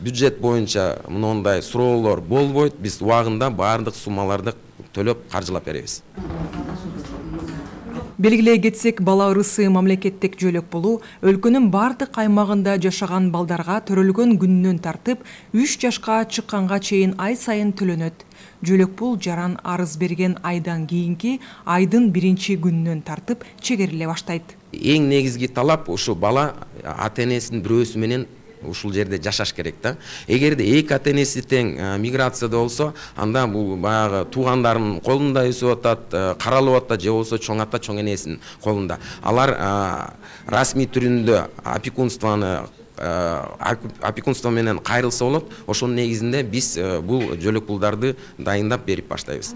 бюджет боюнча мындай суроолор болбойт. Биз убагында баардык суммаларды төлөп каржылап беребиз. Белгилей кетсек, бала ырысы мамлекеттик жөлөк болуу өлкөнүн бардык аймагында жашаган балдарга төрөлгөн күнүнөн тартып 3 жашка чыкканга чейин ай сайын төлөнөт. Жөлөк пул жаран арыз берген айдан кийинки айдын 1-күнүнөн тартып чегериле баштайт. Эң негизги талап ушу бала ата-энесинин бирөөсү менен ушул жерде жашаш керек да. Эгерде эки ата-энеси тең миграцияда болсо, анда бул баягы туугандарынын колунда өсүп атат, каралып атат, же болсо чоң ата, чоң энесинин колунда. Алар расмий түрүндө опекунство менен кайрылса болот. Ошонун негизинде биз бул жөлөк пулдарды дайындап берип баштайбыз.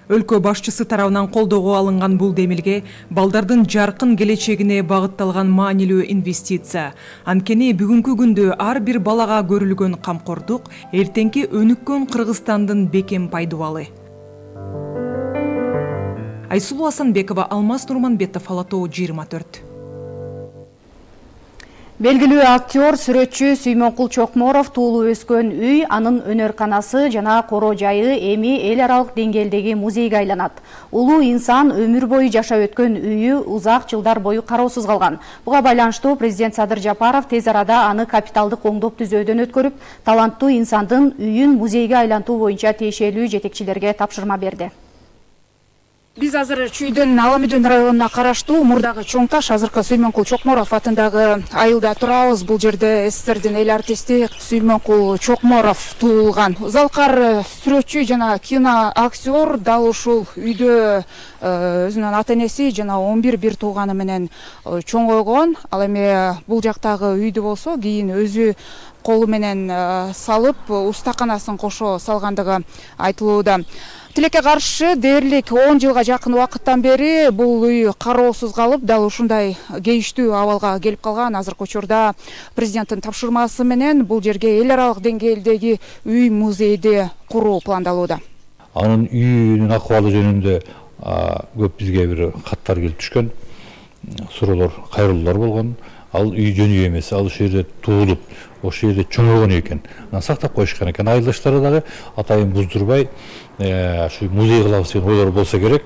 Өлкө башчысы тарабынан колдоого алынган бул демилге балдардын жаркын келечегине багытталган маанилүү инвестиция. Анткени бүгүнкү күндө ар бир балага көрүлгөн камкордук эртеңки өнүккөн Кыргызстандын бекем пайдубалы. Айсулуу Асанбекова, Алмаз Нурманбетов, Ала Тоо 24. Белгилүү актер, сүрөтчү Сүймөнкул Чокморов туулуп өскөн үй, анын өнөр-канасы жана коро жайы эми эл аралык деңгээлдеги музейге айланат. Улуу инсан өмүр бою жашап өткөн үйү узак жылдар бою кароосуз калган. Буга байланыштуу президент Садыр Жапаров тез арада аны капиталдык оңдоп түзөөдөн өткөрүп, таланттуу инсандын үйүн музейге айлантуу боюнча тиешелүү жетекчилерге тапшырма берди. Биз азыр Чүйдөн Аламүдүн районуна караштуу мурдагы Чоң Таш, азыркы Сүймөнкул Чокморов атындагы айылда турабыз. Бул жерде СССРдин эл артисти Сүймөнкул Чокморов туулган. Залкар сүрөтчү жана кино актер дал ушул үйдө өзүнүн ата-энеси жана 11 бир тууганы менен чоңойгон. Ал эми бул жактагы үйдү болсо кийин өзү колу менен салып, устаканасын кошо салгандыгы айтылууда. Тилекке каршы дээрлик 10 жылга жакын убакыттан бери бул үй кароосуз калып, дал ушундай кейиштүү абалга келип калган. Азыркы учурда президенттин тапшырмасы менен бул жерге эл аралык деңгээлдеги үй музейди куруу пландалууда. Анын үйүнүн акыбалы жөнүндө көп бизге бир каттар келип түшкөн, суроолор, кайрылуулар болгон. Ал үй жөнү эмес, ал ошол жерде туулуп, ошол жерде чоңойгон экен. Анан сактап коюшкан экен. Айылдаштары дагы атайын буздурбай, ушу музей кылабыз деген ойлор болсо керек.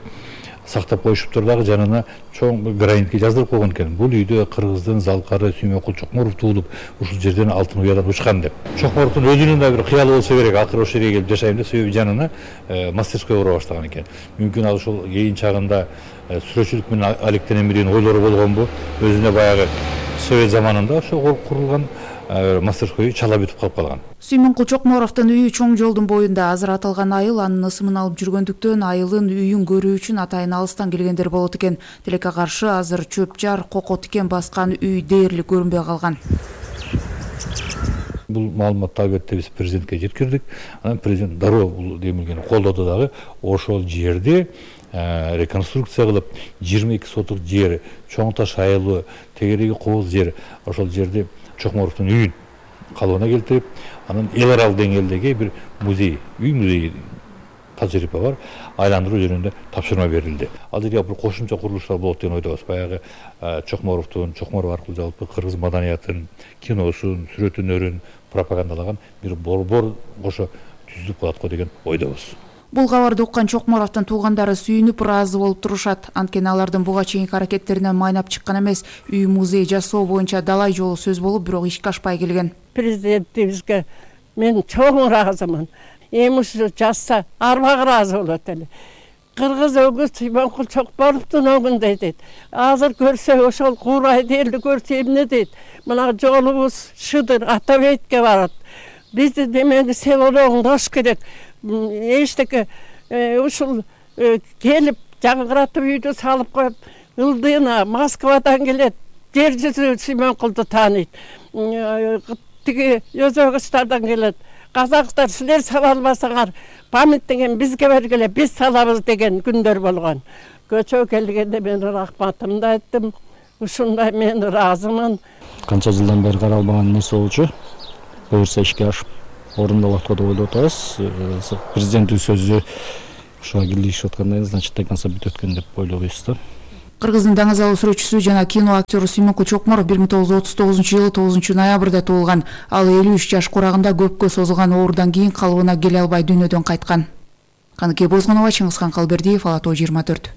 Сактап коюшуптур дагы, жанына чоң границке жаздырып койгон экен. Бул үйдө Кыргыздын Залкары Сүймөнкул Чокморов туулуп, ушул жерден алтын уядан учкан деп. Чокморовдун өзүнүн да бир кыялы болсо керек, акыры ошол жерге келип жашайм деп, себеби жанына мастерской кура баштаган экен. Мүмкүн ал ушул кийин чагында сүрөтчүлүк менен алектенем деген ойлору болгонбу, өзүнө баягы Совет заманында ошол курулган мастерской чала бүтүп калып калган. Сүймөнкул Чокморовдун үйү чоң жолдун боюнда. Азыр аталган айыл анын ысымын алып жүргөндүктөн айылын үйүн көрүү үчүн атайын алыстан келгендер болот экен. Тилекке каршы азыр чөп жар, коко тикен баскан үй дээрлик көрүнбөй калган. Бул маалыматты албетте биз президентке жеткирдик. Анан президент дароо бул демилгени колдоду дагы. Ошол жерде реконструкция кылып 22 соток жер, Чоң Таш айылы, тегереги Кооз жер, ошол жерде Чокморовдун үйүн калыбына келтирип, анан эл аралык деңгээлдеги бир музей, үй музей тажрыйба бар, айландыруу жөнүндө тапшырма берилди. Ал жерге бир кошумча курулуштар болот деген ойдобуз. Баягы Чокморовдун, Чокморов аркылуу жалпы кыргыз маданиятын, киносун, сүрөт өнөрүн пропагандалаган бир борбор кошо түзүлүп калат го деген ойдобуз. Бул кабарды уккан Чокморовдун туугандары сүйүнүп ыраазы болуп турушат. Анткени алардын буга чейинки аракеттеринен майнап чыккан эмес, үй музей жасоо боюнча далай жолу сөз болуп, бирок ишке ашпай келген. Президентибизге мен чоң ыраазымын. Эми ушу жазса арбак ыраазы болот эле. Кыргыз өгүз Сүймөнкул Чокморовдун өгүндөй дейт. Азыр көрсө ошол куурайды элди көрсө эмне дейт. Мына жолубуз шыдыр Атабейтке барат. Бизди демени селолоңдош керек. Эчтеке ушул келип жаңгыратып үйдү салып коюп, ылдыйына Москвадан келет, жер жүзү Сүймөнкулду тааныйт. Тиги Өзбекстандан келет. Казактар силер сала албасаңар, памятниген бизге бергиле, биз салабыз деген күндөр болгон. Көчө келгенде мен рахматымды айттым. Ушундай мен ыраазымын. Канча жылдан бери каралбаган нерсе болчу. Буюрса ишке ашып орундалат го деп ойлоп атабыз. Президенттин сөзү ушуга кийлигишип аткандай, значит, до конца бүтөт экен деп ойлойбуз да. Кыргыздын даңазалуу сүрөтчүсү жана кино актеру Сүймөнкул Чокморов 1939 жылы 9 ноябрда туулган. Ал 53 жаш курагында көпкө созулган оорудан кийин калыбына келе албай дүйнөдөн кайткан. Каныке Бозгонова, Чыңгызхан Калбердиев, Ала Тоо 24.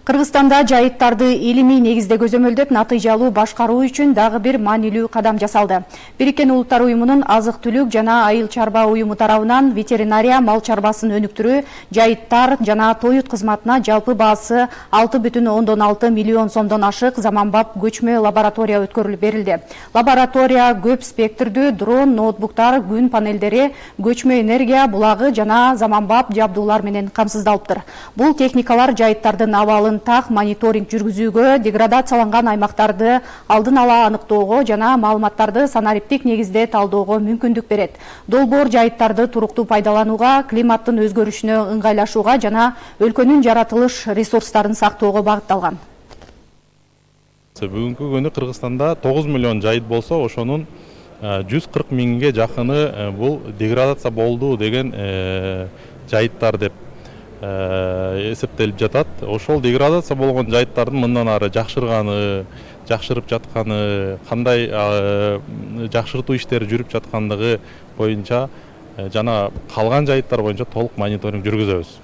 Кыргызстанда жайыттарды илимий негизде көзөмөлдөп натыйжалуу башкаруу үчүн дагы бир маанилүү кадам жасалды. Бириккен Улуттар уюмунун азык-түлүк жана айыл чарба уюму тарабынан ветеринария мал чарбасын өнүктүрүү жайыттар жана тоют кызматына жалпы баасы 6,6 миллион сомдон ашык заманбап көчмө лаборатория өткөрүлүп берилди. Лаборатория көп спектрдүү дрон, ноутбуктар, күн панелдери, көчмө энергия булагы жана заманбап жабдуулар менен камсыздалыптыр. Бул техникалар жайыттардын абалын так мониторинг жүргүзүүгө, деградацияланган аймактарды алдын ала аныктоого жана маалыматтарды санариптик негизде талдоого мүмкүндүк берет. Долбоор жайыттарды туруктуу пайдаланууга, климаттын өзгөрүшүнө ыңгайлашууга жана өлкөнүн жаратылыш ресурстарын сактоого багытталган. Бүгүнкү күнү Кыргызстанда 9 миллион жайыт болсо, ошонун 140 миңге жакыны бул деградация болду деген жайыттар деп эсептелип жатат. Ошол деградация болгон жайыттардын мындан ары жакшырып жатканы, кандай жакшыртуу иштери жүрүп жаткандыгы боюнча жана калган жайыттар боюнча толук мониторинг жүргүзөбүз.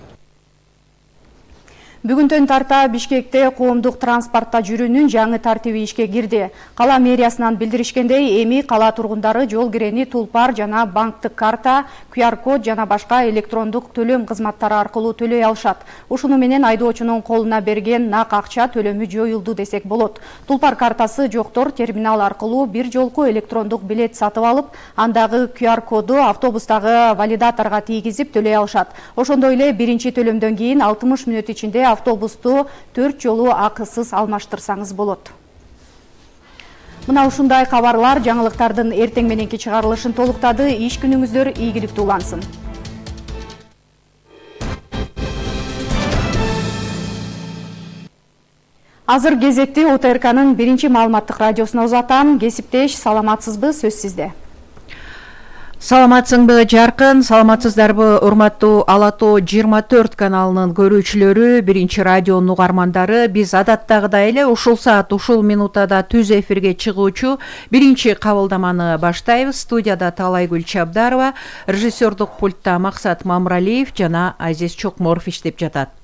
Бүгүндөн тарта Бишкекте коомдук транспортто жүрүүнүн жаңы тартиби ишке кирди. Кала мэриясынан билдиришкендей, эми кала тургундары жол кирени тулпар жана банктык карта, QR-код жана башка электрондук төлөм кызматтары аркылуу төлөй алышат. Ушуну менен айдоочунун колуна берген нак акча төлөмү жоюлду десек болот. Тулпар картасы жоктор терминал аркылуу бир жолку электрондук билет сатып алып, андагы QR-коду автобустагы валидаторго тийгизип төлөй алышат. Ошондой эле биринчи төлөмдөн кийин 60 мүнөт ичинде автобусту 4 жолу акысыз алмаштырсаңыз болот. Мына ушундай кабарлар жаңылыктардын эртең мененки чыгарылышын толуктады. Иш күнүңүздөр ийгиликтүү улансын. Азыр кезекти ОТРКнын биринчи маалыматтык радиосуна узатам. Кесиптеш, саламатсызбы, сөз сизде. Саламатсыңбы жаркын, саламатсыздарбы урматтуу Ала Тоо 24 каналынын көрүүчүлөрү, биринчи радионун угармандары. Биз адаттагыдай эле ушул саат, ушул минутада түз эфирге чыгуучу биринчи кабылдаманы баштайбыз. Студияда Талайгүл Чабдарова, режиссердук пультта Максат Мамралиев жана Азиз Чокморов иштеп жатат.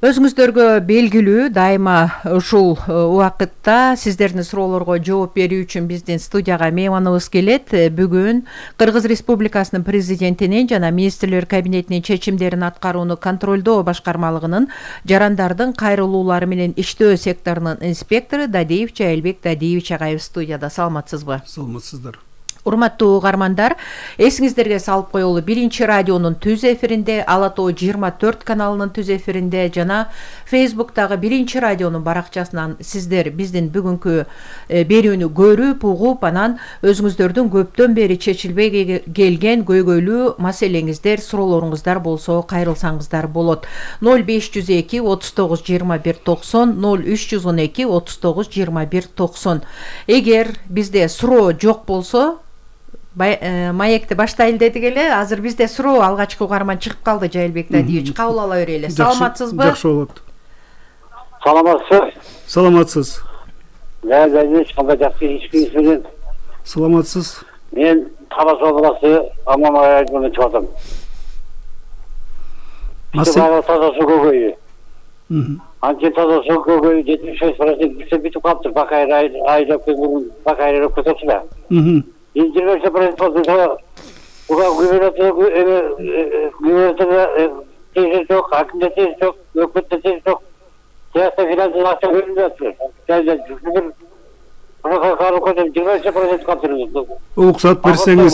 Өзүңүздөргө белгилүү, дайыма ушул убакытта сиздердин суроолорго жооп берүү үчүн биздин студияга мейманыбыз келет. Бүгүн Кыргыз Республикасынын президентинин жана министрлер кабинетинин чечимдерин аткарууну контролдоо башкармалыгынын жарандардын кайрылуулары менен иштөө секторунун инспектору Дадиев Жайылбек Дадиевич агайыбыз студияда. Саламатсызбы? Саламатсыздар. Урматтуу угармандар, эсиңиздерге салып коелу, биринчи радионун түз эфиринде, Ала Тоо 24 каналынын түз эфиринде жана Фейсбуктагы биринчи радионун баракчасынан сиздер биздин бүгүнкү берүүнү көрүп, угуп, анан өзүңүздөрдүн көптөн бери чечилбей келген көйгөйлүү маселеңиздер, суроолоруңуздар болсо кайрылсаңыздар болот. 0502 39 21 90, 0312 39 21 90. Эгер бизде суроо жок болсо, маекти баштайлы дедик эле. Азыр бизде суроо алгачкы угарман чыгып калды. Жайылбек Дадиевич, кабыл ала берели. Саламатсызбы? Жакшы болот. Саламатсыз. Саламатсыз. Дадиевич, кандай жакшы иш менен. Саламатсыз. Мен Табас областы Амама районунан чыгатам. Таза суу көйгөйү. Анча таза суу көйгөйү 76% бүтүп калыптыр. Бакайыр айдап бакайыр көтөрсү да. 20% буга тез жок, акимде тез жок, өкмөттө тез жок. Саясий финансылык акча бөлүнүп жатыр. Уруксат берсеңиз.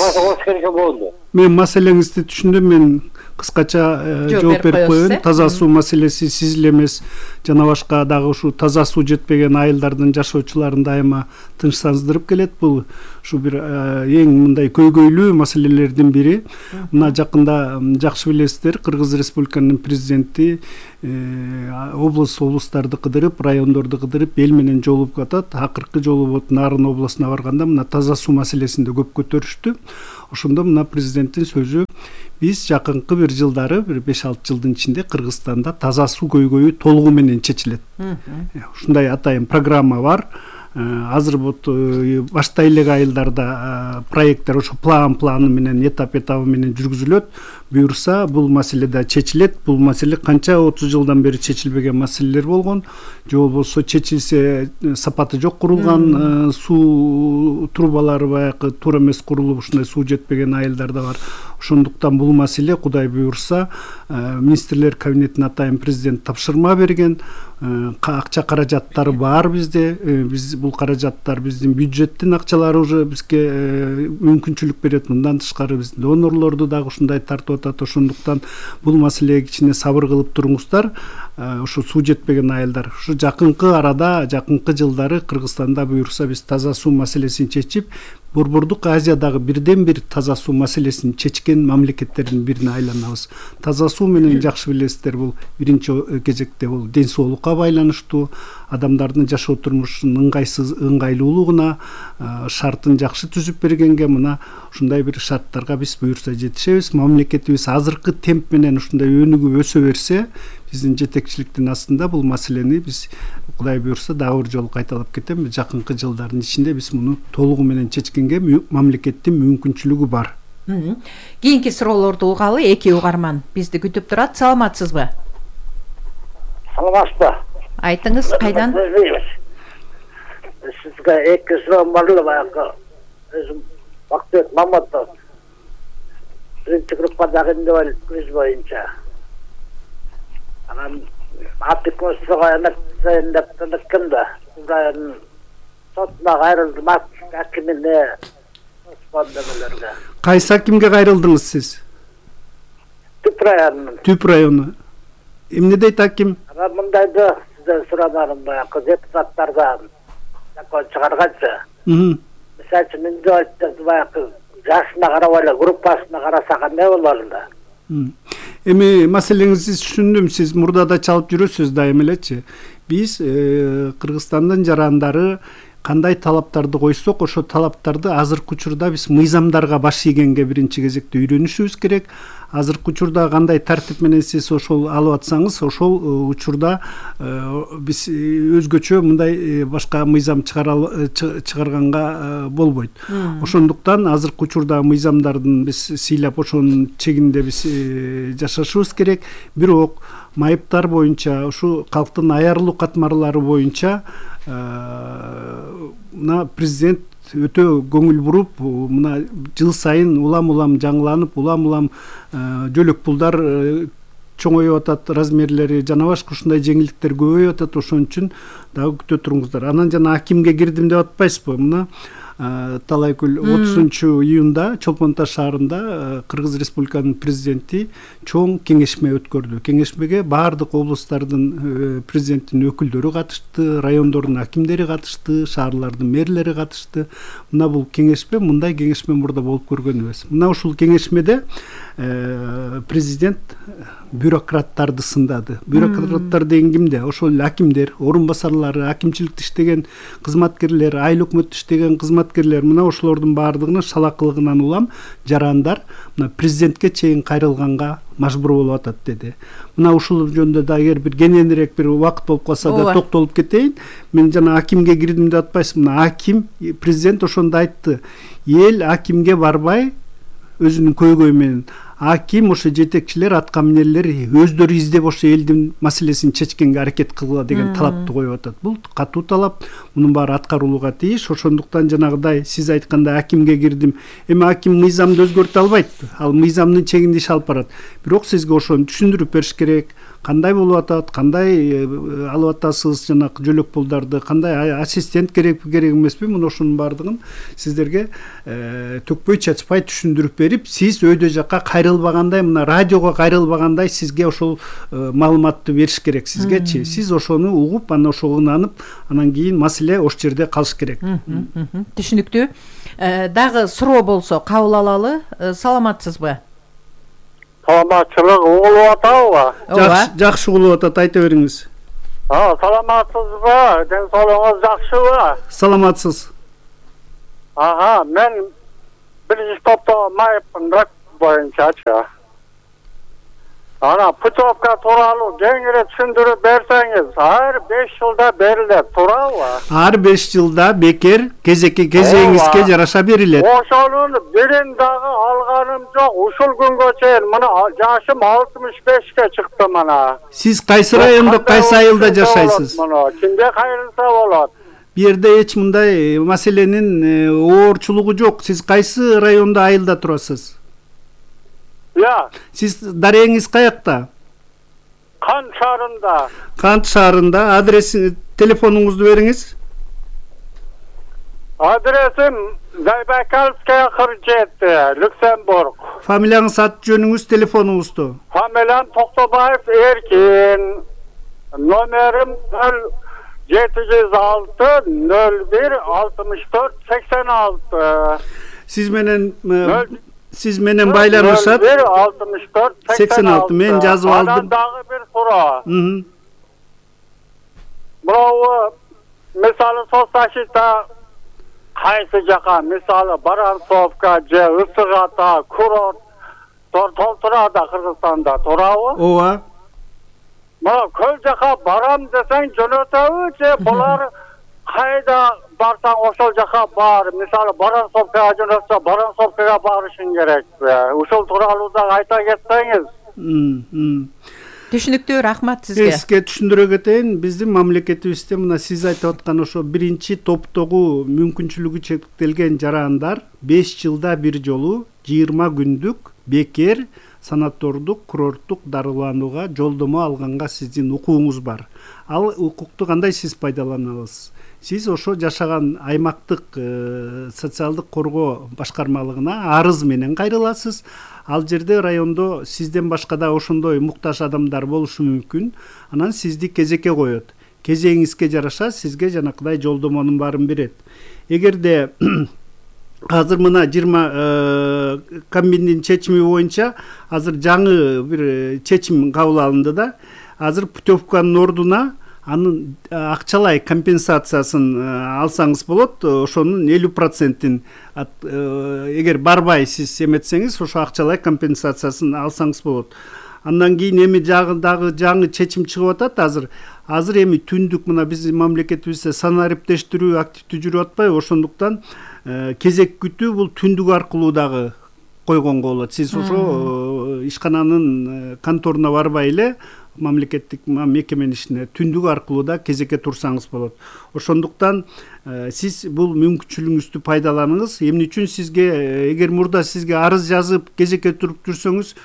Мен маселеңизди түшүндүм. Мен кыскача жооп берип коеюн. Таза суу маселеси сиз эле эмес, жана башка дагы ушу таза суу жетпеген айылдардын жашоочуларын дайыма тынчсыздырып келет. Бул ушу бир эң мындай көйгөйлүү маселелердин бири. Мына жакында жакшы билесиздер, Кыргыз Республикасынын президенти облустарды кыдырып, райондорду кыдырып, эл менен жолугуп атат. Акыркы жолу вот Нарын областына барганда мына таза суу маселесин да көп көтөрүштү. Ошондо мына президенттин сөзү, биз жакынкы бир жылдары, бир 5-6 жылдын ичинде Кыргызстанда таза суу көйгөйү толугу менен чечилет. Ушундай атайын программа бар. Азыр вот баштай элек айылдарда проекттер ошо планы менен, этабы менен жүргүзүлөт. Буюрса бул маселе да чечилет. Бул маселе канча 30 жылдан бери чечилбеген маселелер болгон. Же болбосо чечилсе сапаты жок курулган суу трубалары баягы туура эмес курулуп, ушундай суу жетпеген айылдар да бар. Ошондуктан бул маселе Кудай буюрса министрлер кабинетине атайын президент тапшырма берген. Акча каражаттары бар бизде. Биз бул каражаттар биздин бюджеттин акчалары уже бизге мүмкүнчүлүк берет. Мындан тышкары биз донорлорду дагы ушундай тартып атат. Ошондуктан бул маселеге кичине сабыр кылып туруңуздар. Ошо суу жетпеген айылдар. Ушу жакынкы арада, жакынкы жылдары Кыргызстанда буюрса биз таза суу маселесин чечип, Борбордук Азиядагы бирден бир таза суу маселесин чечкен мамлекеттердин бирине айланабыз. Таза суу менен жакшы билесиздер, бул биринчи кезекте бул ден соолукка байланыштуу, адамдардын жашоо турмушунун ыңгайлуулугуна шартын жакшы түзүп бергенге, мына ушундай бир шарттарга биз буюрса жетишебиз. Мамлекетибиз азыркы темп менен ушундай өнүгүп өсө берсе, биздин жетекчиликтин астында бул маселени биз Кудай буюрса дагы бир жолу кайталап кетем. Жакынкы жылдардын ичинде биз муну толугу менен чечкенге мамлекеттин мүмкүнчүлүгү бар. Кийинки суроолорду угалы. Эки угарман бизди күтүп турат. Саламатсызбы? Саламатсызбы? Айтыңыз, кайдан? Сизге эки суроом бар эле, баягы өзүм Бактыбек Маматов. Биринчи группадагы индивалид боюнча. Анан Атыкостога кимде? Районун сотуна кайрылдым, акимине демелерге. Кайсы акимге кайрылдыңыз сиз? Түп районунун. Түп району. Эмне дейт аким? Мындайды сизден сурамарым, баягы депутаттарга закон чыгарганчы. Мисалы үчүн индивалидтерди баягы жашына карабай эле группасына караса кандай болор эле? Эми маселеңизди түшүндүм. Сиз мурда да чалып жүрөсүз дайым элечи. Биз Кыргызстандын жарандары кандай талаптарды койсок, ошо талаптарды азыркы учурда биз мыйзамдарга баш ийгенге биринчи кезекте үйрөнүшүбүз керек. Азыркы учурда кандай тартип менен сиз ошол алып атсаңыз, ошол учурда биз өзгөчө мындай башка мыйзам чыгарганга болбойт. Ошондуктан азыркы учурда мыйзамдардын биз сыйлап ошонун чегинде биз жашашыбыз керек. Бирок майыптар боюнча, ушу калктын аярлуу катмарлары боюнча мына президент өтө көңүл буруп, мына жыл сайын улам жаңыланып, улам жөлөк пулдар чоңоюп атат, размерлери жана башка ушундай жеңилдиктер көбөйүп атат. Ошон үчүн дагы күтө туруңуздар. Анан жана акимге кирдим деп атпайсызбы? Мына Талайкүл 30-июнда Чолпон Таш шаарында Кыргыз Республиканын президенти чоң кеңешме өткөрдү. Кеңешмеге баардык облустардын президенттин өкүлдөрү катышты, райондордун акимдери катышты, шаарлардын мэрлери катышты. Мына бул кеңешме, мындай кеңешме мурда болуп көргөн эмес. Мына ушул кеңешмеде президент бюрократтарды сындады. Бюрократтар деген кимде? Ошол акимдер, орун басарлары, акимчиликте иштеген кызматкерлер, айыл өкмөттө иштеген кызматкерлер, мына ошолордун баардыгына шалакылыгынан улам жарандар мына президентке чейин кайрылганга мажбур болуп атат деди. Мына ушул жөнүндө да эгер бир кененирээк бир убакыт болуп калса да токтолуп кетейин. Мен жана акимге кирдим деп атпайсызбы? Мына аким, президент ошондо айтты. Эл акимге барбай өзүнүн көйгөйү менен аким ошо жетекчилер аткаминерлер өздөрү издеп ошо элдин маселесин чечкенге аракет кылгыла деген талапты коюп атат. Бул катуу талап, мунун баары аткарылууга тийиш. Ошондуктан жанагыдай сиз айткандай акимге кирдим. Эми аким мыйзамды өзгөртө албайт. Ал мыйзамдын чегинде иш алып барат. Бирок сизге ошону түшүндүрүп бериш керек. Кандай болуп атат, кандай алып атасыз жанагы жөлөк пулдарды, кандай ассистент керек эмеспи, мына ошонун баардыгын сиздерге төкпөй чачпай түшүндүрүп берип, сиз өйдө жакка кайрылбагандай, мына радиого кайрылбагандай сизге ошол маалыматты бериш керек сизгечи. Сиз ошону угуп, анан ошого ынанып, анан кийин маселе ошол жерде калыш керек. Түшүнүктүү. Дагы суроо болсо кабыл алалы. Саламатсызбы? Саламатчылык угулуп атабы? Жакшы угулуп атат, айта бериңиз. Саламатсызбы? Ден соолугуңуз жакшыбы? Саламатсыз. Мен биринчи топто майыптын боюнчачы. Ана путевка тууралуу кеңири түшүндүрүп берсеңиз, ар 5 жылда берилет, туурабы? Ар 5 жылда бекер кезеңизге жараша берилет. Ошонун бирин дагы алганым жок. Ушул күнгө чейин мына жашым 65ке чыкты мына. Сиз кайсы райондо, кайсы айылда жашайсыз? Кимге кайрылса болот? Бу жерде эч мындай маселенин оорчулугу жок. Сиз кайсы райондо, айылда турасыз? Сиз дарегиңиз каякта? Кант шаарында. Кант шаарында. Адресиңиз, телефонуңузду бериңиз. Адресим Зайбакальская 47, Люксембург. Фамилияңыз, аты жөнүңүз, телефонуңузду? Фамилиям Токтобаев Эркин. Номерим 706 01 64 86. Сиз менен байланышат. 64 86. Мен жазып алдым. Анан дагы бир суроо. Бирөө мисалы соцзащита кайсы жака, мисалы Баранцовка же Ысык Ата, курорт толтурада Кыргызстанда, туурабы? Ооба. Мына көл жака барам десең жөнөтөбү же булар кайда барсаң ошол жака бар. Мисалы Баранцовкага жөнөтсө Баранцовкага барышың керекпи? Ушул тууралуу да айта кетсеңиз. Түшүнүктүү, рахмат сизге. Сизге түшүндүрө кетейин, биздин мамлекетибизде мына сиз айтып аткан ошо биринчи топтогу мүмкүнчүлүгү чектелген жарандар 5 жылда бир жолу 20 күндүк бекер санатордук, курорттук дарыланууга жолдомо алганга сиздин укугуңуз бар. Ал укукту кандай сиз пайдалана аласыз? Сиз ошо жашаган аймактык социалдык коргоо башкармалыгына арыз менен кайрыласыз. Ал жерде райондо сизден башка да ошондой муктаж адамдар болушу мүмкүн. Анан сизди кезекке коет. Кезеңиңизге жараша сизге жанакыдай жолдомонун баарын берет. Эгерде азыр мына 20 комбиндин чечими боюнча азыр жаңы бир чечим кабыл алынды да. Азыр путевканын ордуна анын акчалай компенсациясын алсаңыз болот. Ошонун 50%-ин эгер барбай сиз эметсеңиз, ошо акчалай компенсациясын алсаңыз болот. Андан кийин эми дагы жаңы чечим чыгып атат азыр. Азыр эми түндүк мына биздин мамлекетибизде санариптештирүү активдүү жүрүп атпайбы? Ошондуктан кезек күтүү бул түндүк аркылуу дагы койгонго болот. Сиз ошо ишкананын конторуна барбай эле мамлекеттик мекеменин ишине түндүк аркылуу да кезекке турсаңыз болот. Ошондуктан сиз бул мүмкүнчүлүгүңүздү пайдаланыңыз. Эмне үчүн сизге эгер мурда сизге арыз жазып кезекке туруп жүрсөңүз,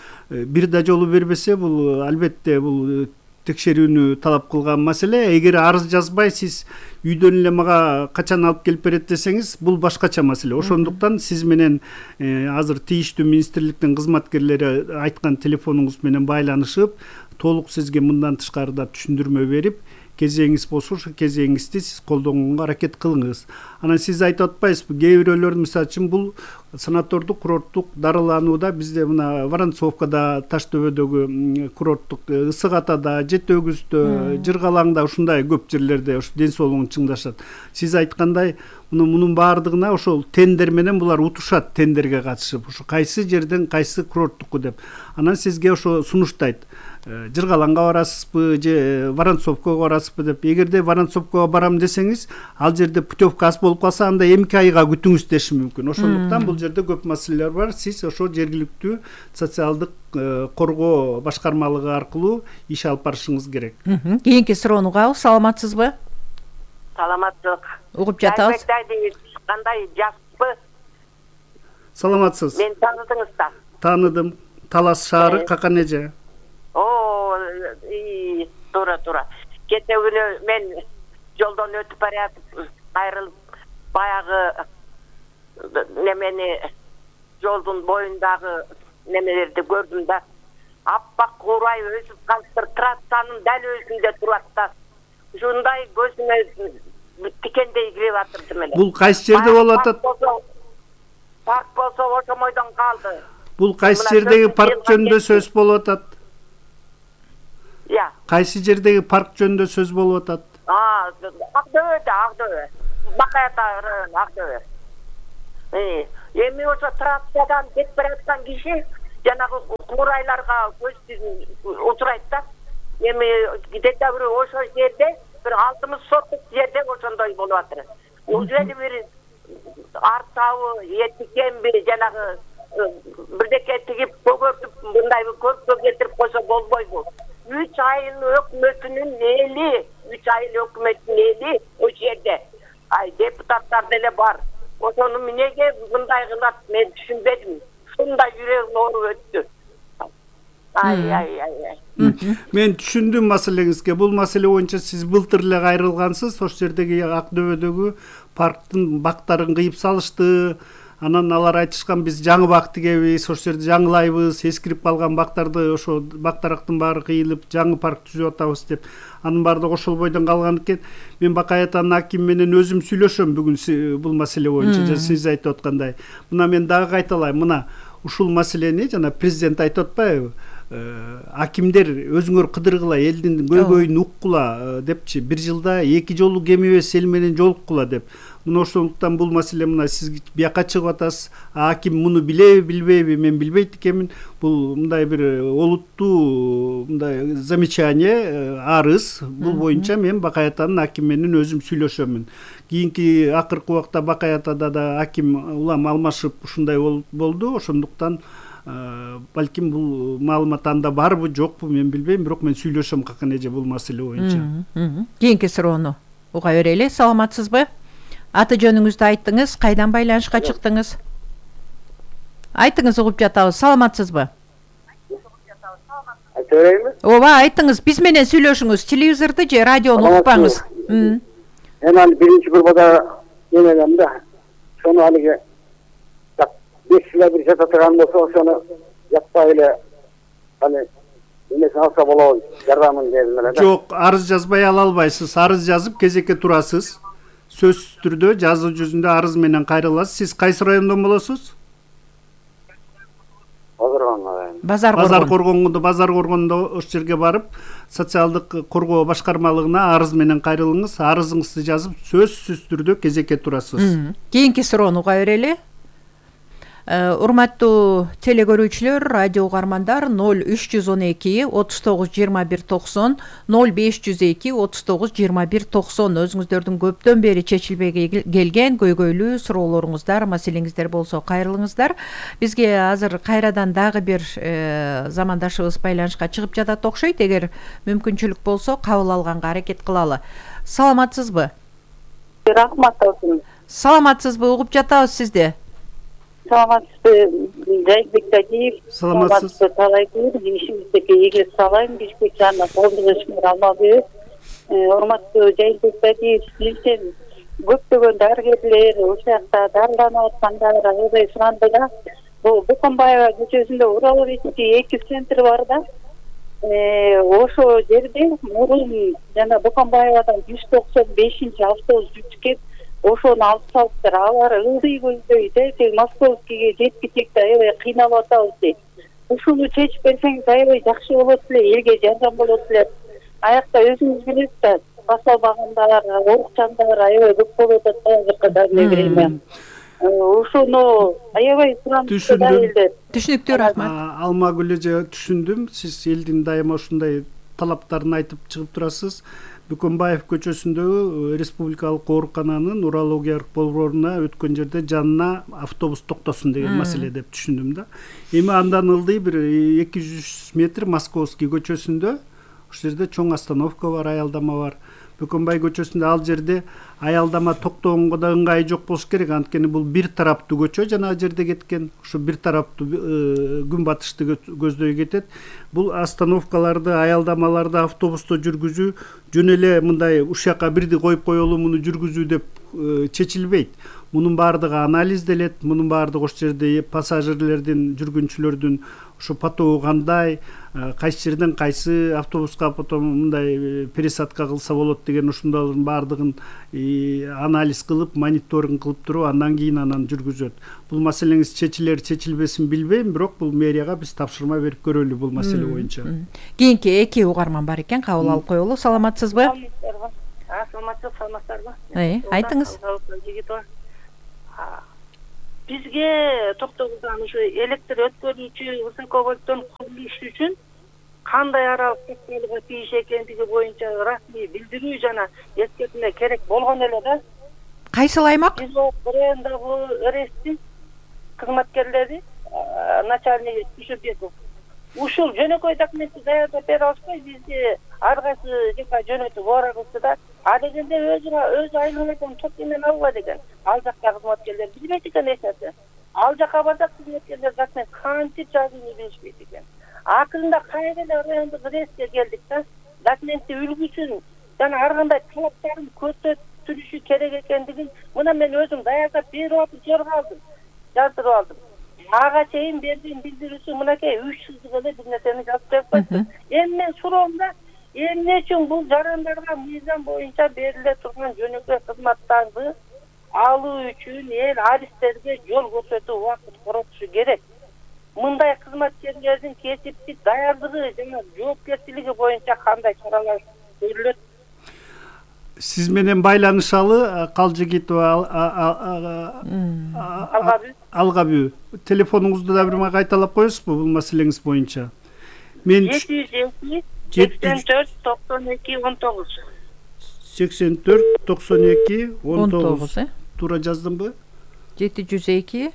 бир да жолу бербесе бул албетте бул текшерүүнү талап кылган маселе. Эгер арыз жазбай сиз үйдөн эле мага качан алып келип берет десеңиз, бул башкача маселе. Ошондуктан сиз менен азыр тийиштүү министрликтин кызматкерлери айткан телефонуңуз менен байланышып, толук сизге мындан тышкары да түшүндүрмө берип, кезеңиз болсо ошо кезеңизди сиз колдонгонго аракет кылыңыз. Анан сиз айтып атпайсызбы, кээ бирөөлөр мисалы үчүн бул санатордук, курорттук дарыланууда бизде мына Воронцовкада, Таштөбөдөгү курорттук, Ысык Атада, Жети Өгүздө, Жыргалаңда ушундай көп жерлерде ушу ден соолугун чыңдашат. Сиз айткандай, мунун баардыгына ошол тендер менен булар утушат, тендерге катышып, ошо кайсы жерден кайсы курорттуку деп. Анан сизге ошо сунуштайт. Жыргалаңга барасызбы же Воронцовкага барасызбы деп. Эгерде Воронцовкага барам десеңиз, ал жерде путевка аз болуп калса, анда 2 айга күтүңүз деши мүмкүн. Ошондуктан бул жерде көп маселелер бар. Сиз ошо жергиликтүү социалдык коргоо башкармалыгы аркылуу иш алып барышыңыз керек. Кийинки суроону угабыз. Саламатсызбы? Саламаттык. Угуп жатабыз. Кандай жакшыбы? Саламатсыз. Мен таныдыңыз да. Таныдым. Талас шаары какан эже? Туура. Кече күнү мен жолдон өтүп баратып кайрылып баягы немени жолдун боюндагы немелерди көрдүм да. Аппак курай өсүп калыптыр, трассанын дал өзүндө турат да. Ушундай көзүмө тикендей кирип атырды эле. Бул кайсы жерде болуп атат? Парк болсо ошомойдон калды. Бул кайсы жердеги парк жөнүндө сөз болуп атат? Кайсы жердеги парк жөнүндө сөз болуп атат? Актөбө. Бакаята району Актөбө. Эми ошо трассадан кетип бараткан киши жанагы курайларга көз учурайт да. Эми декабрь ошо жерде бир 60 соттук жерде ошондой болуп атыр. Ушул бир артабы этикенби жанагы бирдеке тигип көгөртүп мындай көркө кетирип койсо болбойбу? 3 айыл өкмөтүнүн эли ошол жерде. Депутаттар деле бар. Ошону эмнеге мындай кылат мен түшүнбөдүм. Ушундай жүрөгүм ооруп өттү. Мен түшүндүм маселеңизге. Бул маселе боюнча сиз былтыр эле кайрылгансыз. Ошол жердеги Актөбөдөгү парктын бактарын кыйып салышты. Анан алар айтышкан биз жаңы бак тигебиз, ошол жерде жаңылайбыз, эскирип калган бактарды ошо бактарактын баары кыйылып, жаңы парк түзүп атабыз деп. Анын баардыгы ошол бойдон калган экен. Мен Бакаятанын акими менен өзүм сүйлөшөм бүгүн бул маселе боюнча, сиз айтып аткандай. Мына мен дагы кайталайм. Мына ушул маселени жана президент айтып атпайбы? Акимдер өзүңөр кыдыргыла, элдин көйгөйүн уккула депчи. Бир жылда 2 жолу кем эмес эл менен жолуккула деп. Мына ошондуктан бул маселе мына сиз бияка чыгып атасыз. Аким муну билеби, билбейби? Мен билбейт экенмин. Бул мындай бир олуттуу мындай замечание, арыз. Бул боюнча мен Бакаятанын акими менен өзүм сүйлөшөмүн. Кийинки акыркы убакта Бакаятада да аким улам алмашып ушундай болду. Ошондуктан балким бул маалымат анда барбы, жокпу мен билбейм, бирок мен сүйлөшөм какан эже бул маселе боюнча. Кийинки суроону уга берели. Саламатсызбы? Аты жөнүңүздү айттыңыз, кайдан байланышка чыктыңыз? Айтыңыз, угуп жатабыз. Саламатсызбы? Айта берейинби? Ооба, айтыңыз. Биз менен сүйлөшүңүз. Телевизорду же радиону укпаңыз. Мен аны биринчи группада эмелем да. Сону алиге 5 жыл бир жата турган болсо, ошону жатпай эле аны эмесин алса болобу, жардамын дедим эле да. Жок, арыз жазбай ала албайсыз. Арыз жазып кезекке турасыз. Сөзсүз түрдө жазуу жүзүндө арыз менен кайрыласыз. Сиз кайсы райондон болосуз? Базар Коргондо ошол жерге барып, социалдык коргоо башкармалыгына арыз менен кайрылыңыз. Арызыңызды жазып, сөзсүз түрдө кезекке турасыз. Кийинки суроону уга берели. Урматтуу телегөрүүчүлөр, радио угармандар 0312 39 21 90 0502 39 21 90 өзүңүздөрдүн көптөн бери чечилбей келген көйгөйлүү суроолоруңуздар, маселеңиздер болсо кайрылыңыздар. Бизге азыр кайрадан дагы бир замандашыбыз байланышка чыгып жатат окшойт. Эгер мүмкүнчүлүк болсо кабыл алганга аракет кылалы. Саламатсызбы? Рахмат olsun. Саламатсызбы? Угуп жатабыз сизди. Саламатсызбы, Жайбек Тадиев. Саламатсыз. Талайкыр, ишибиздеги ийгилик салайм, Бишкек жана коомдук ишмер Алмабек. Урматтуу Жайбек Тадиев, сизден көптөгөн дарыгерлер ошол жакта дарыланып аткандар аябай суранды да. Бул Буканбаева көчөсүндө урологический 2 центр бар да. Ошол жерде мурун жана Буканбаевадан 195-чи автобус жүрүп кеп ошону алып салыптыр. Алар ылдый көздөй дейт, Московскийге жеткичек да аябай кыйналып атабыз дейт. Ушуну чечип берсеңиз аябай жакшы болот эле, элге жардам болот эле. Аякта өзүңүз билесиз да, басалбагандар, оорукчандар аябай көп болуп атат азыркы время. Ошону аябай суранышты да элдер. Түшүнүктүү, рахмат. Алмагүл эже, түшүндүм. Сиз элдин дайыма ушундай талаптарын айтып чыгып турасыз. Бөкөнбаев көчөсүндөгү республикалык оорукананын урологиялык борборуна өткөн жерде жанына автобус токтосун деген маселе деп түшүндүм да. Эми андан ылдый бир 200 метр Московский көчөсүндө ошол жерде чоң остановка бар, аялдама бар. Бөкөнбай көчөсүндө ал жерде аялдама токтогонго да ыңгай жок болуш керек, анткени бул бир тараптуу көчө жана жерде кеткен. Ошо бир тараптуу күн батышты көздөй кетет. Бул остановкаларды, аялдамаларды автобусту жүргүзүү жөн эле мындай ушул жака бирди коюп коелу муну жүргүзүү деп чечилбейт. Мунун баардыгы анализделет, мунун баардыгы ошол жерде пассажирлердин, жүргүнчүлөрдүн ушу потогу кандай, кайсы жерден кайсы автобуска потом мындай пересадка кылса болот деген ушундайлардын баардыгын анализ кылып, мониторинг кылып туруп, андан кийин анан жүргүзөт. Бул маселеңиз чечилер, чечилбесин билбейм, бирок бул мэрияга биз тапшырма берип көрөлү бул маселе боюнча. Кийинки эки угарман бар экен, кабыл алып коелу. Саламатсызбы? Саламатсызбы? Айтыңыз. Бизге токтогулдан ушу электр өткөрүүчү высоковольттон курулуш үчүн кандай аралык тектерге тийиш экендиги боюнча расмий билдирүү жана эскертме керек болгон эле да. Кайсыл аймак? Биз БРНдагы РСтин кызматкерлери начальник Түшүбеков ушул жөнөкөй документти даярдап бере алышпай бизди ар кайсы жака жөнөтүп барабызды да. А дегенде өз айланайдан топ менен алба деген. Ал жакка кызматкерлер билбейт экен эч нерсе. Ал жака барсак кызматкерлер документ кантип жазууну билишпейт экен. Акырында кайра эле райондук РСке келдик да. Документти үлгүсүн жана ар кандай талаптарын көрсөтүлүшү керек экендигин мына мен өзүм даярдап берип алып жаздырып алдым. Ага чейин берген билдирүүсү мынакей 3 сызык эле бир нерсени жазып берип койду. Эми мен суроомда эмне үчүн бул жарандарга мыйзам боюнча бериле турган жөнөкөй кызматтарды алуу үчүн эл аристтерге жол көрсөтүү убакыт коротушу керек. Мындай кызматкерлердин кесиптик даярдыгы жана жоопкерчилиги боюнча кандай чаралар көрүлөт? Сиз менен байланышалы Калжыгитова Алгабү. Телефонуңузду да бир мага кайталап коесузбу бул маселеңиз боюнча? Мен 702 84 92 19. 84 92 19. Туура жаздымбы? 702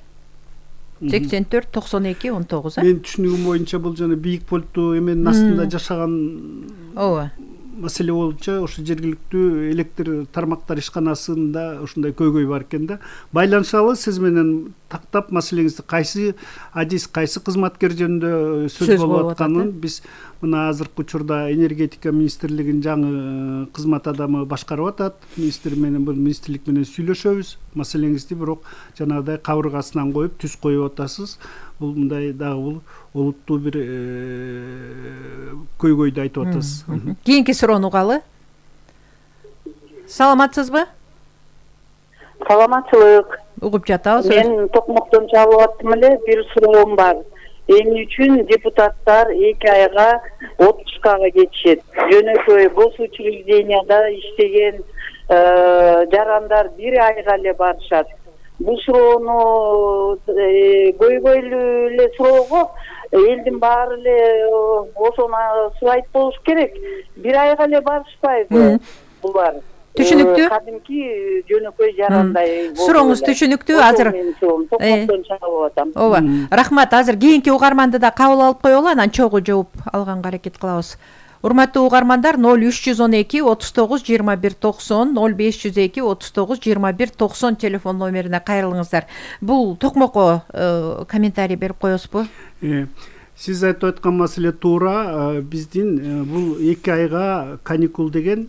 84 92 19. Мен түшүнүгүм боюнча бул жана бийик полктуу эменин астында жашаган маселе боюнча ошо жергиликтүү электр тармактар ишканасында ушундай көйгөй бар экен да. Байланышалы сиз менен тактап маселеңизди кайсы адис, кайсы кызматкер жөнүндө сөз болуп атканын биз мына азыркы учурда энергетика министрлигинин жаңы кызмат адамы башкарып атат. Министр менен бул министрлик менен сүйлөшөбүз. Маселеңизди бирок жанагыдай кабыргасынан коюп түз коюп атасыз. Бул мындай дагы бул олуттуу бир көйгөйдү айтып атасыз. Кийинки суроону угалы. Саламатсызбы? Саламатчылык. Угуп жатабыз. Мен Токмоктон чалып аттым эле, бир суроом бар. Эмне үчүн депутаттар 2 айга отпускага кетишет? Жөнөкөй гос учрежденияда иштеген жарандар 1 айга эле барышат. Бул суроону көйгөйлүү эле суроого элдин баары эле ошону субайт болуш керек. 1 айга эле барышпайбы булар? Түшүнүктүү. Кадимки жөнөкөй жарандай. Сурооңуз түшүнүктүү. Азыр Токмоктон чалып атам. Ооба. Рахмат. Азыр кийинки угарманды да кабыл алып коелу, анан чогуу жооп алганга аракет кылабыз. Урматтуу угармандар, 0312 39 21 90, 0502 39 21 90 телефон номерине кайрылыңыздар. Бул Токмокко комментарий берип коесузбу? Сиз айтып аткан маселе туура. Биздин бул 2 айга каникул деген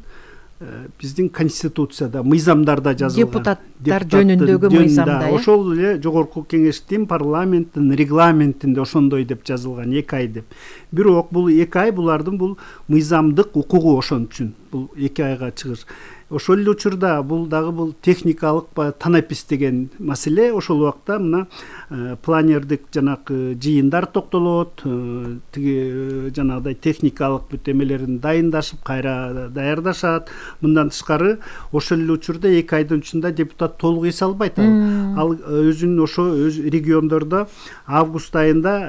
биздин конституцияда, мыйзамдарда жазылган. Депутаттар жөнүндөгү мыйзамда. Ошол эле жогорку кеңештин, парламенттин регламентинде ошондой деп жазылган 2 ай деп. Бирок бул 2 ай булардын бул мыйзамдык укугу ошон үчүн. Бул 2 айга чыгыш. ошол эле учурда бул дагы бул техникалык танапис деген маселе. Ошол убакта мына планердик жанагы жыйындар токтолот, тиги жанагыдай техникалык бүт эмелерин дайындашып кайра даярдашат. Мындан тышкары ошол эле учурда 2 айдын ичинде депутат толук эс албайт. Ал өзүнүн ошо өз региондордо август айында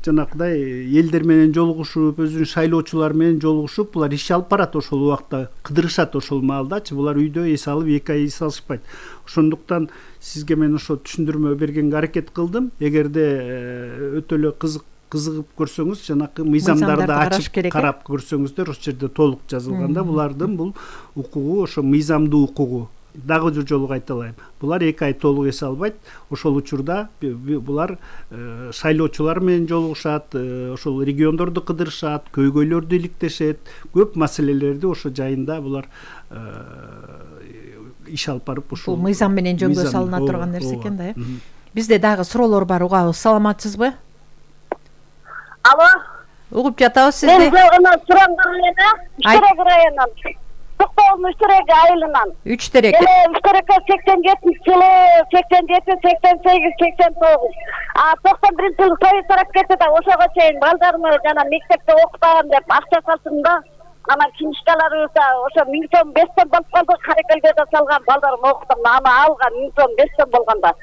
жанагыдай элдер менен жолугушуп, өзүнүн шайлоочулар менен жолугушуп, булар иш алып барат. Ошол убакта кыдырышат. Ошол маалдачы булар үйдө эс алып 2 ай эс алышпайт. Ошондуктан сизге мен ошо түшүндүрмө бергенге аракет кылдым. Эгерде өтө эле кызыгып көрсөңүз, жанакы мыйзамдарды ачып карап көрсөңүздөр, ошол жерде толук жазылганда булардын бул укугу ошо мыйзамдуу укугу. Дагы жолу кайталайм. Булар 2 ай толук эс албайт. Ошол учурда булар шайлоочулар менен жолугушат, ошол региондорду кыдырышат, көйгөйлөрдү иликтешет. Көп маселелерди ошо жайында булар иш алып барып ушул мыйзам менен жөнгө салына турган нерсе экен да. Бизде дагы суроолор бар, угабыз. Саламатсызбы? Алло. Угуп жатабыз сизди. Мен жогуна сураңдар эле. Үштерек районунан. Токтогул Үштерек айылынан. Үштерек. Үштерекке 87-жылы, 87, 88, 89. 91-жылы той тарап кетти да, ошого чейин балдарымы жана мектепте окутаган деп акча салдым да. Ана книжкаларыбыз да ошо 1000 сом 5 сом болуп калды. Каракелге да салган балдарым окутум. Аны алган 1000 сом 5 сом болгондо.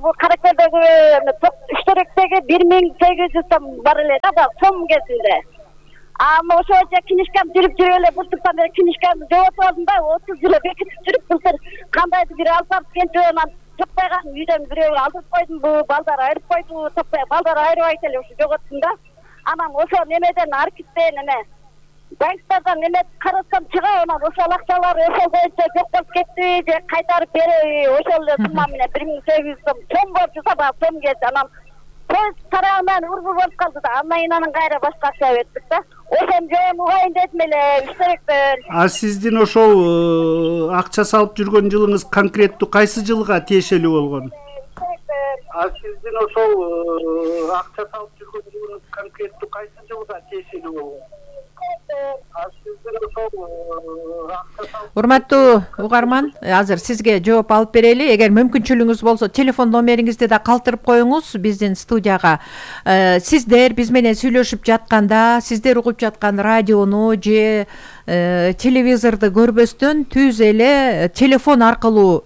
Бул Каракелдеги Үштеректеги 1800 сом бар эле да, сом кезинде. Ошо же книжкам жүрүп эле буртуктан бери книжкамды жоотуп алдым да, 30 жыл бекитип жүрүп былтыр кандайдыр бир алып барып кенчебен топпай калдым. Үйдөн бирөө алдырып койдум, бул балдар айрып койду, топпай балдар айрыбайт эле ушу жоготтум да. Анан ошо немеден архивден эме банктардан эме карасам чыга, анан ошол акчалар ошол боюнча жок болуп кетти, же кайтарып береби, ошол эле сумма менен 1800 сом борчу саба сом келди. Анан поезд тарабынан урбу болуп калды да, анан кайра башка акча бердик да. Ошон жөн угайын дедим эле Үштеректен. Сиздин ошол акча салып жүргөн жылыңыз конкреттүү кайсы жылга тиешелүү болгон? Сиздин ошол акча салып жүргөн жылыңыз конкреттүү кайсы жылга тиешелүү болгон? Урматтуу угарман, азыр сизге жооп алып берели. Эгер мүмкүнчүлүгүңүз болсо, телефон номериңизди да калтырып коюңуз биздин студияга. Сиздер биз менен сүйлөшүп жатканда, сиздер угуп жаткан радиону же телевизорду көрбөстөн түз эле телефон аркылуу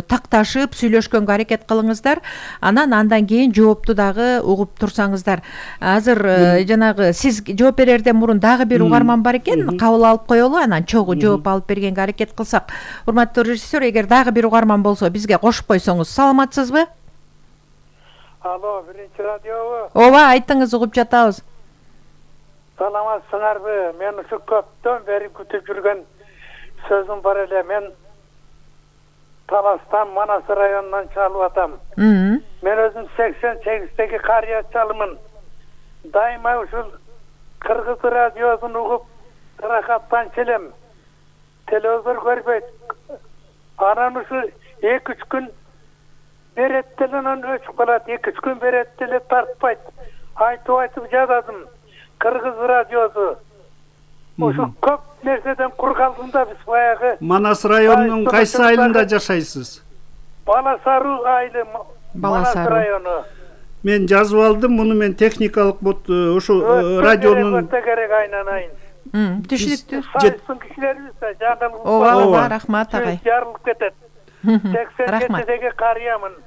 такташып сүйлөшкөнгө аракет кылыңыздар. Андан кийин жоопту дагы угуп турсаңыздар. Азыр жанагы сиз жооп берерден мурун дагы бир угарман бар экен, кабыл алып коелу, анан чогуу жооп алып бергенге аракет кылсак. Урматтуу режиссер, эгер дагы бир угарман болсо бизге кошуп койсоңуз. Саламатсызбы? Алло, биринчи радиобу? Ооба, айтыңыз, угуп жатабыз. Саламатсыңарбы? Мен ушу көптөн бери күтүп жүргөн сөзүм бар эле. Мен Таластан, Манас районунан чалып атам. Мен өзүм 88-деги карыя чалымын. Дайыма ушул Кыргыз радиосун угуп таракаттанчу элем. Телевизор көрбөйт. Анан ушу 2-3 күн берет деле, анан өчүп калат. 2-3 күн берет деле тартпайт. Айтып жазадым. Кыргыз радиосу. Ушу көп нерседен кур калдым да, биз баягы. Манас районунун кайсы айылында жашайсыз? Баласаруу айылы, Манас району. Мен жазып алдым, муну мен техникалык ошо радионун өтө керек айнанайын. Түшүнүктүү. Сайсын кишилерибиз да жагылып. Ооба, рахмат агай. Жарылып кетет. 87-деги карыямын.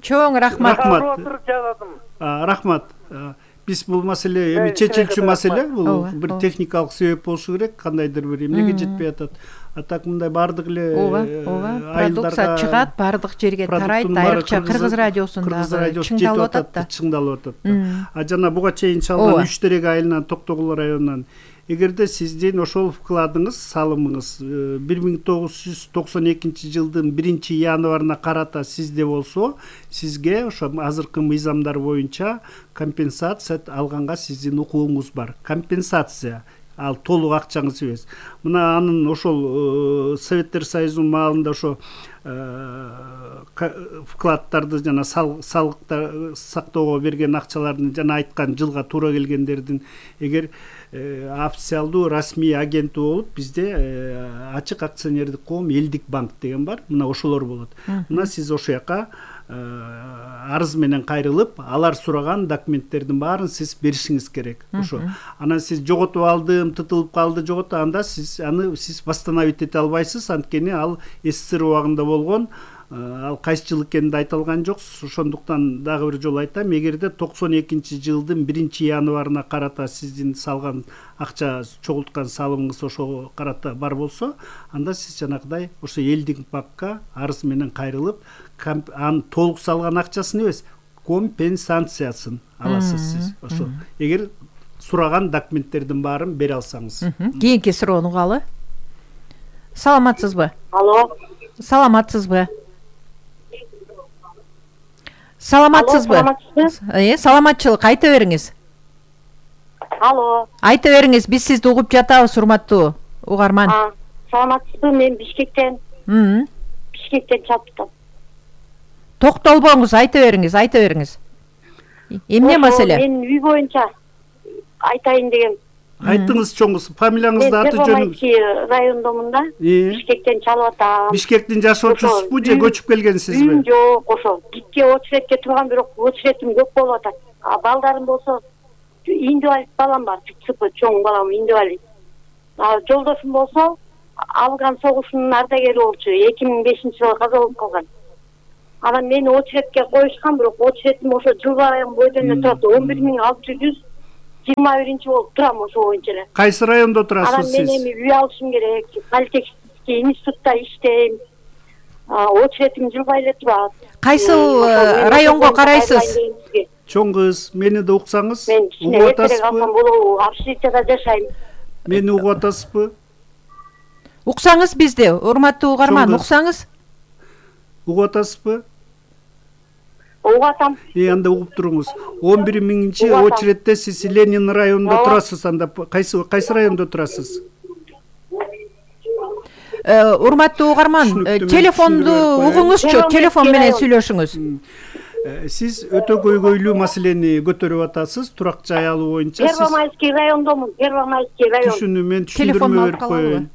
Чоң рахмат. Отуруп жазадым. Рахмат. Биз бул маселе эми чечилчү маселе, бул бир техникалык себеп болушу керек, кандайдыр бир эмнеге жетпей атат. Так мындай бардык эле продукция чыгат, бардык жерге тарайт, айрыкча Кыргыз радиосунда чыңдалып атат. Чыңдалып атат. Жана буга чейин чалган Үштерек айылынан, Токтогул районунан эгерде сиздин ошол вкладыңыз, салымыңыз 1992 жылдын 1-январына карата сизде болсо, сизге ошо азыркы мыйзамдар боюнча компенсация алганга сиздин укугуңуз бар. Компенсация ал толук акчаңыз эмес. Мына анын ошол Советтер Союзунун маалында ошо вкладдарды жана салыктар сактоого берген акчалардын жана айткан жылга туура келгендердин эгер официалдуу расмий агенти болуп бизде ачык акционердик коом Элдик банк деген бар. Мына ошолор болот. Мына сиз ошол жака арыз менен кайрылып, алар сураган документтердин баарын сиз беришиңиз керек. Ошо. Анан сиз жоготуп алдым, тытылып калды, анда аны сиз восстановить эте албайсыз, анткени ал СССР убагында болгон. Ал кайсы жыл экенин айта алган жоксуз. Ошондуктан дагы бир жолу айтам, эгерде 92-жылдын 1-январына карата сиздин салган акча чогулткан салымыңыз ошого карата бар болсо, анда сиз жанагыдай ошо Элдик банкка арыз менен кайрылып, анын толук салган акчасын эмес, компенсациясын аласыз сиз. Ошо. Эгер сураган документтердин баарын бере алсаңыз. Кийинки суроону угалы. Саламатсызбы? Алло. Саламатсызбы? Саламатсызбы? Саламатчылык айта бериңиз. Алло. Айта бериңиз, биз сизди угуп жатабыз, урматтуу угарман. Саламатсызбы? Мен Бишкектен. Бишкектен чалыптым. Токтолбоңуз, айта бериңиз. Эмне маселе? Мен үй боюнча айтайын дегем. Айтыңыз чоңуз, фамилияңызды, аты жөнүңүз. Мен райондомун да. Бишкектен чалып атам. Бишкектин жашоочусузбу же көчүп келгенсизби? Жок, ошо. Гидке очередке турган, бирок очередим көп болуп атат. Балдарым болсо инвалид балам бар, чоң балам инвалид. Жолдошум болсо Афган согушунун ардагери болчу, 2005-жылы каза болуп калган. Анан мени очередке коюшкан, бирок очередим ошо жыл сайын бойдон турат, 11.621 болуп турам ошо боюнча эле. Кайсы райондо турасыз сиз? Анан мен эми үй алышым керек, политехнический институтта иштейм. Очередим жылбай эле турат. Кайсы районго карайсыз? Чоң кыз, мени да уксаңыз, угуп атасызбы? Общежитияда жашайм. Мени угуп атасызбы? Уксаңыз бизди, урматтуу угарман, уксаңыз. Угуп атасызбы? Угуп атам. Анда угуп туруңуз. 11.000-чи очередте сиз Ленин районунда турасыз, анда кайсы райондо турасыз? Урматтуу угарман, телефонду угуңузчу, телефон менен сүйлөшүңүз. Сиз өтө көйгөйлүү маселени көтөрүп атасыз, турак жай алуу боюнча. Первомайский райондомун, Первомайский район. Түшүнүм, мен түшүндүрмө берип коеюн.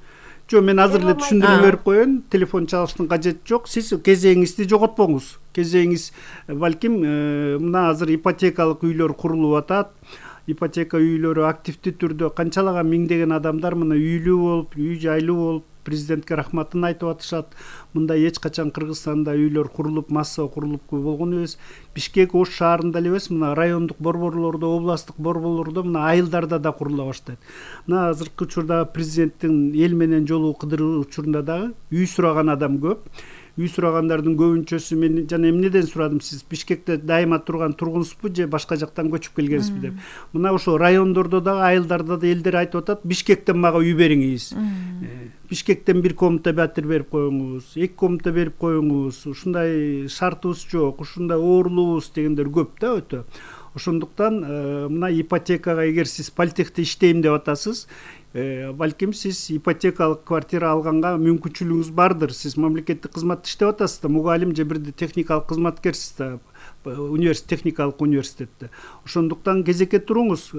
Жок, мен азыр эле түшүндүрмө берип коеюн. Телефон чалыштын кажети жок. Сиз кезегиңизди жоготпоңуз. Кезегиңиз балким мына азыр ипотекалык үйлөр курулуп атат. Ипотека үйлөрү активдүү түрдө канчалаган миңдеген адамдар мына үйлүү болуп, үй жайлуу болуп, президентке рахматын айтып атышат. Мында эч качан Кыргызстанда үйлөр курулуп, масса курулуп болгон эмес. Бишкек Ош шаарында эле эмес, мына райондук борборлордо, областтык борборлордо мына айылдарда да курула баштайт. Мына азыркы учурда президенттин эл менен жолугу кыдыруу учурунда дагы үй сураган адам көп. Үй сурагандардын көбүнчөсү мен жана эмнеден сурадым, сиз Бишкекте дайыма турган тургунсузбу же башка жактан көчүп келгенсизби деп. Мына ошо райондордо дагы, айылдарда да элдер айтып атат, Бишкектен мага үй бериңиз. Бишкектен бир комната батир берип коюңуз, 2 комната берип коюңуз, ушундай шартыбыз жок, ушундай оорулуубуз дегендер көп да өтө. Ошондуктан мына ипотекага эгер сиз политехте иштейм деп атасыз, балким сиз ипотекалык квартира алганга мүмкүнчүлүгүңүз бардыр. Сиз мамлекеттик кызматта иштеп атасыз да, мугалим же бирде техникалык кызматкерсиз да, техникалык университетте. Ошондуктан кезекке туруңуз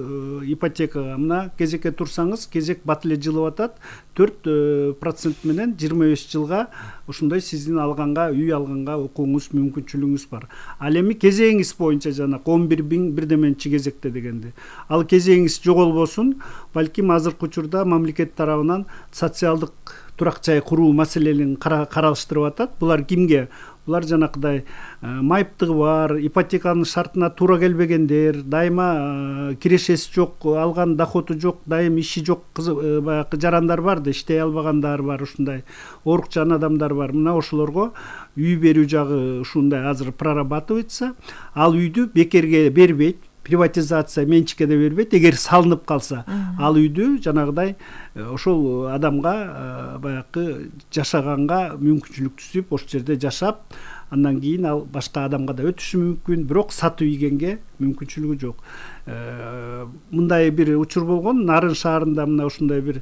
ипотекага. Мына кезекке турсаңыз, кезек бат эле жылып атат. 4% менен 25 жылга ушундай сиздин алганга, үй алганга укугуңуз, мүмкүнчүлүгүңүз бар. Ал эми кезегиңиз боюнча жана 11.000 бирдеменчи кезекте дегенде. Ал кезегиңиз жоголбосун, балким азыркы учурда мамлекет тарабынан социалдык турак жай куруу маселелерин каралыштырып атат. Булар кимге? Булар жанакыдай майыптыгы бар, ипотеканын шартына туура келбегендер, дайыма кирешеси жок, алган доходу жок, дайым иши жок, баягы жарандар бар да, иштей албагандар бар, ушундай оорукчан адамдар бар. Мына ошолорго үй берүү жагы ушундай азыр прорабатывается. Ал үйдү бекерге бербейт. Приватизация менчикке да бербейт. Эгер салынып калса, ал үйдү жанагыдай ошол адамга баягы жашаганга мүмкүнчүлүк түзүп, ошол жерде жашап, андан кийин ал башка адамга да өтүшү мүмкүн, бирок сатып ийгенге мүмкүнчүлүгү жок. Мындай бир учур болгон, Нарын шаарында мына ушундай бир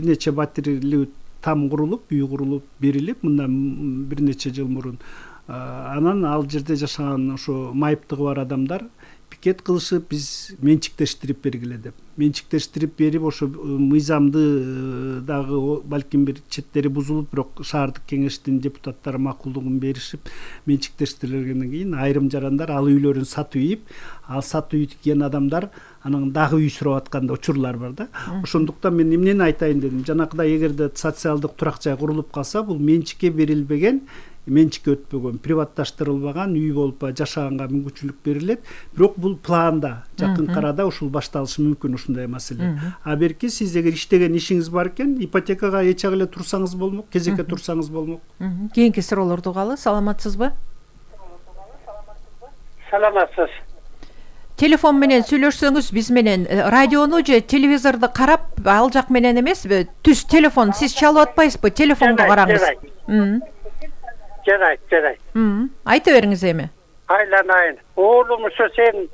нече батирелүү там курулуп, үй курулуп берилип, мындан бир нече жыл мурун. Анан ал жерде жашаган ошо майыптыгы бар адамдар пикет кылышып, биз менчиктештирип бергиле деп. Менчиктештирип берип, ошо мыйзамды дагы балким бир четтери бузулуп, бирок шаардык кеңештин депутаттары макулдугун беришип, менчиктештирилгенден кийин айрым жарандар ал үйлөрүн сатып ийип, ал сатып ийген адамдар анан дагы үй сурап аткан да учурлар бар да. Ошондуктан мен эмнени айтайын дедим, жанакыдай эгерде социалдык турак жай курулуп калса, бул менчикке берилбеген, менчикке өтпөгөн, приватташтырылбаган үй болуп жашаганга мүмкүнчүлүк берилет. Бирок бул планда жакын арада ушул башталышы мүмкүн ушундай маселе. А берки сиз эгер иштеген ишиңиз бар экен, ипотекага эче эле турсаңыз болмок, кезекке турсаңыз болмок. Кийинки суроолорду угалы. Саламатсызбы? Саламатсыз. Телефон менен сүйлөшсөңүз биз менен, радиону же телевизорду карап, ал жак менен эмеспи? Түз телефон, сиз чалып атпайсызбы? Телефонго караңыз. Жарайт. Айта бериңиз эми. Айланайын. Оğlum ушу сен,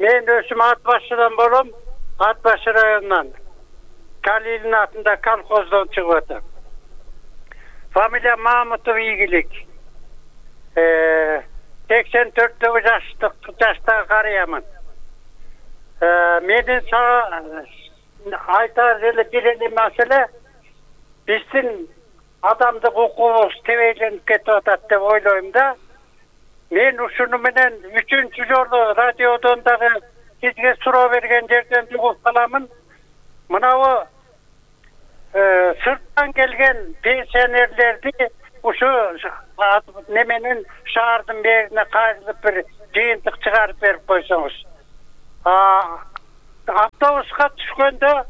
мен өзүм Ат Башыдан болом, Ат Башы районунан. Калилин атында колхоздон чыгып атам. Фамилия Мамутов ийгилик. 84 жаштагы карыямын. Менин айтар эле бир маселе, биздин адамдык укугубуз тебейленип кетип атат деп ойлойм да. Мен ушуну менен 3-чү жолу радиодон дагы сизге суроо берген жерден угуп каламын. Мынабу сырттан келген пенсионерлерди ушу неменин шаардын берине кайрылып бир жыйынтык чыгарып берип койсоңуз. Автобуска түшкөндө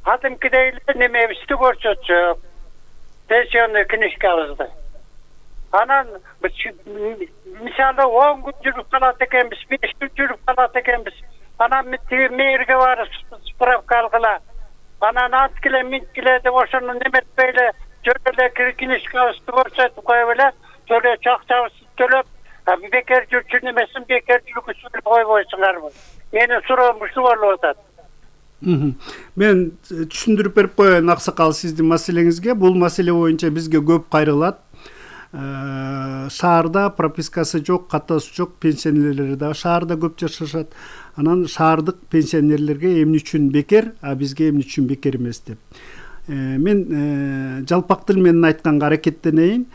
кадимкидей эле немебизди көрсөтсөк, пенсионный книжкабызды. Анан мисалы 10 күн жүрүп калат экенбиз, 5 күн жүрүп калат экенбиз. Анан мэрге барып справка алгыла. Анан анткиле минткиле деп ошону неметпей эле жөн эле книжкабызды көрсөтүп коюп эле, төлөчү акчабызды төлөп, бекер жүрчү немесин бекер жүргүзүп койбойсуңарбы? Менин суроом ушу болуп атат. Мен түшүндүрүп берип коеюн аксакал сиздин маселеңизге. Бул маселе боюнча бизге көп кайрылат. Шаарда пропискасы жок, катасы жок пенсионерлер да шаарда көп жашашат. Анан шаардык пенсионерлерге эмне үчүн бекер, а бизге эмне үчүн бекер эмес деп. Мен жалпак тил менен айтканга аракеттенейин.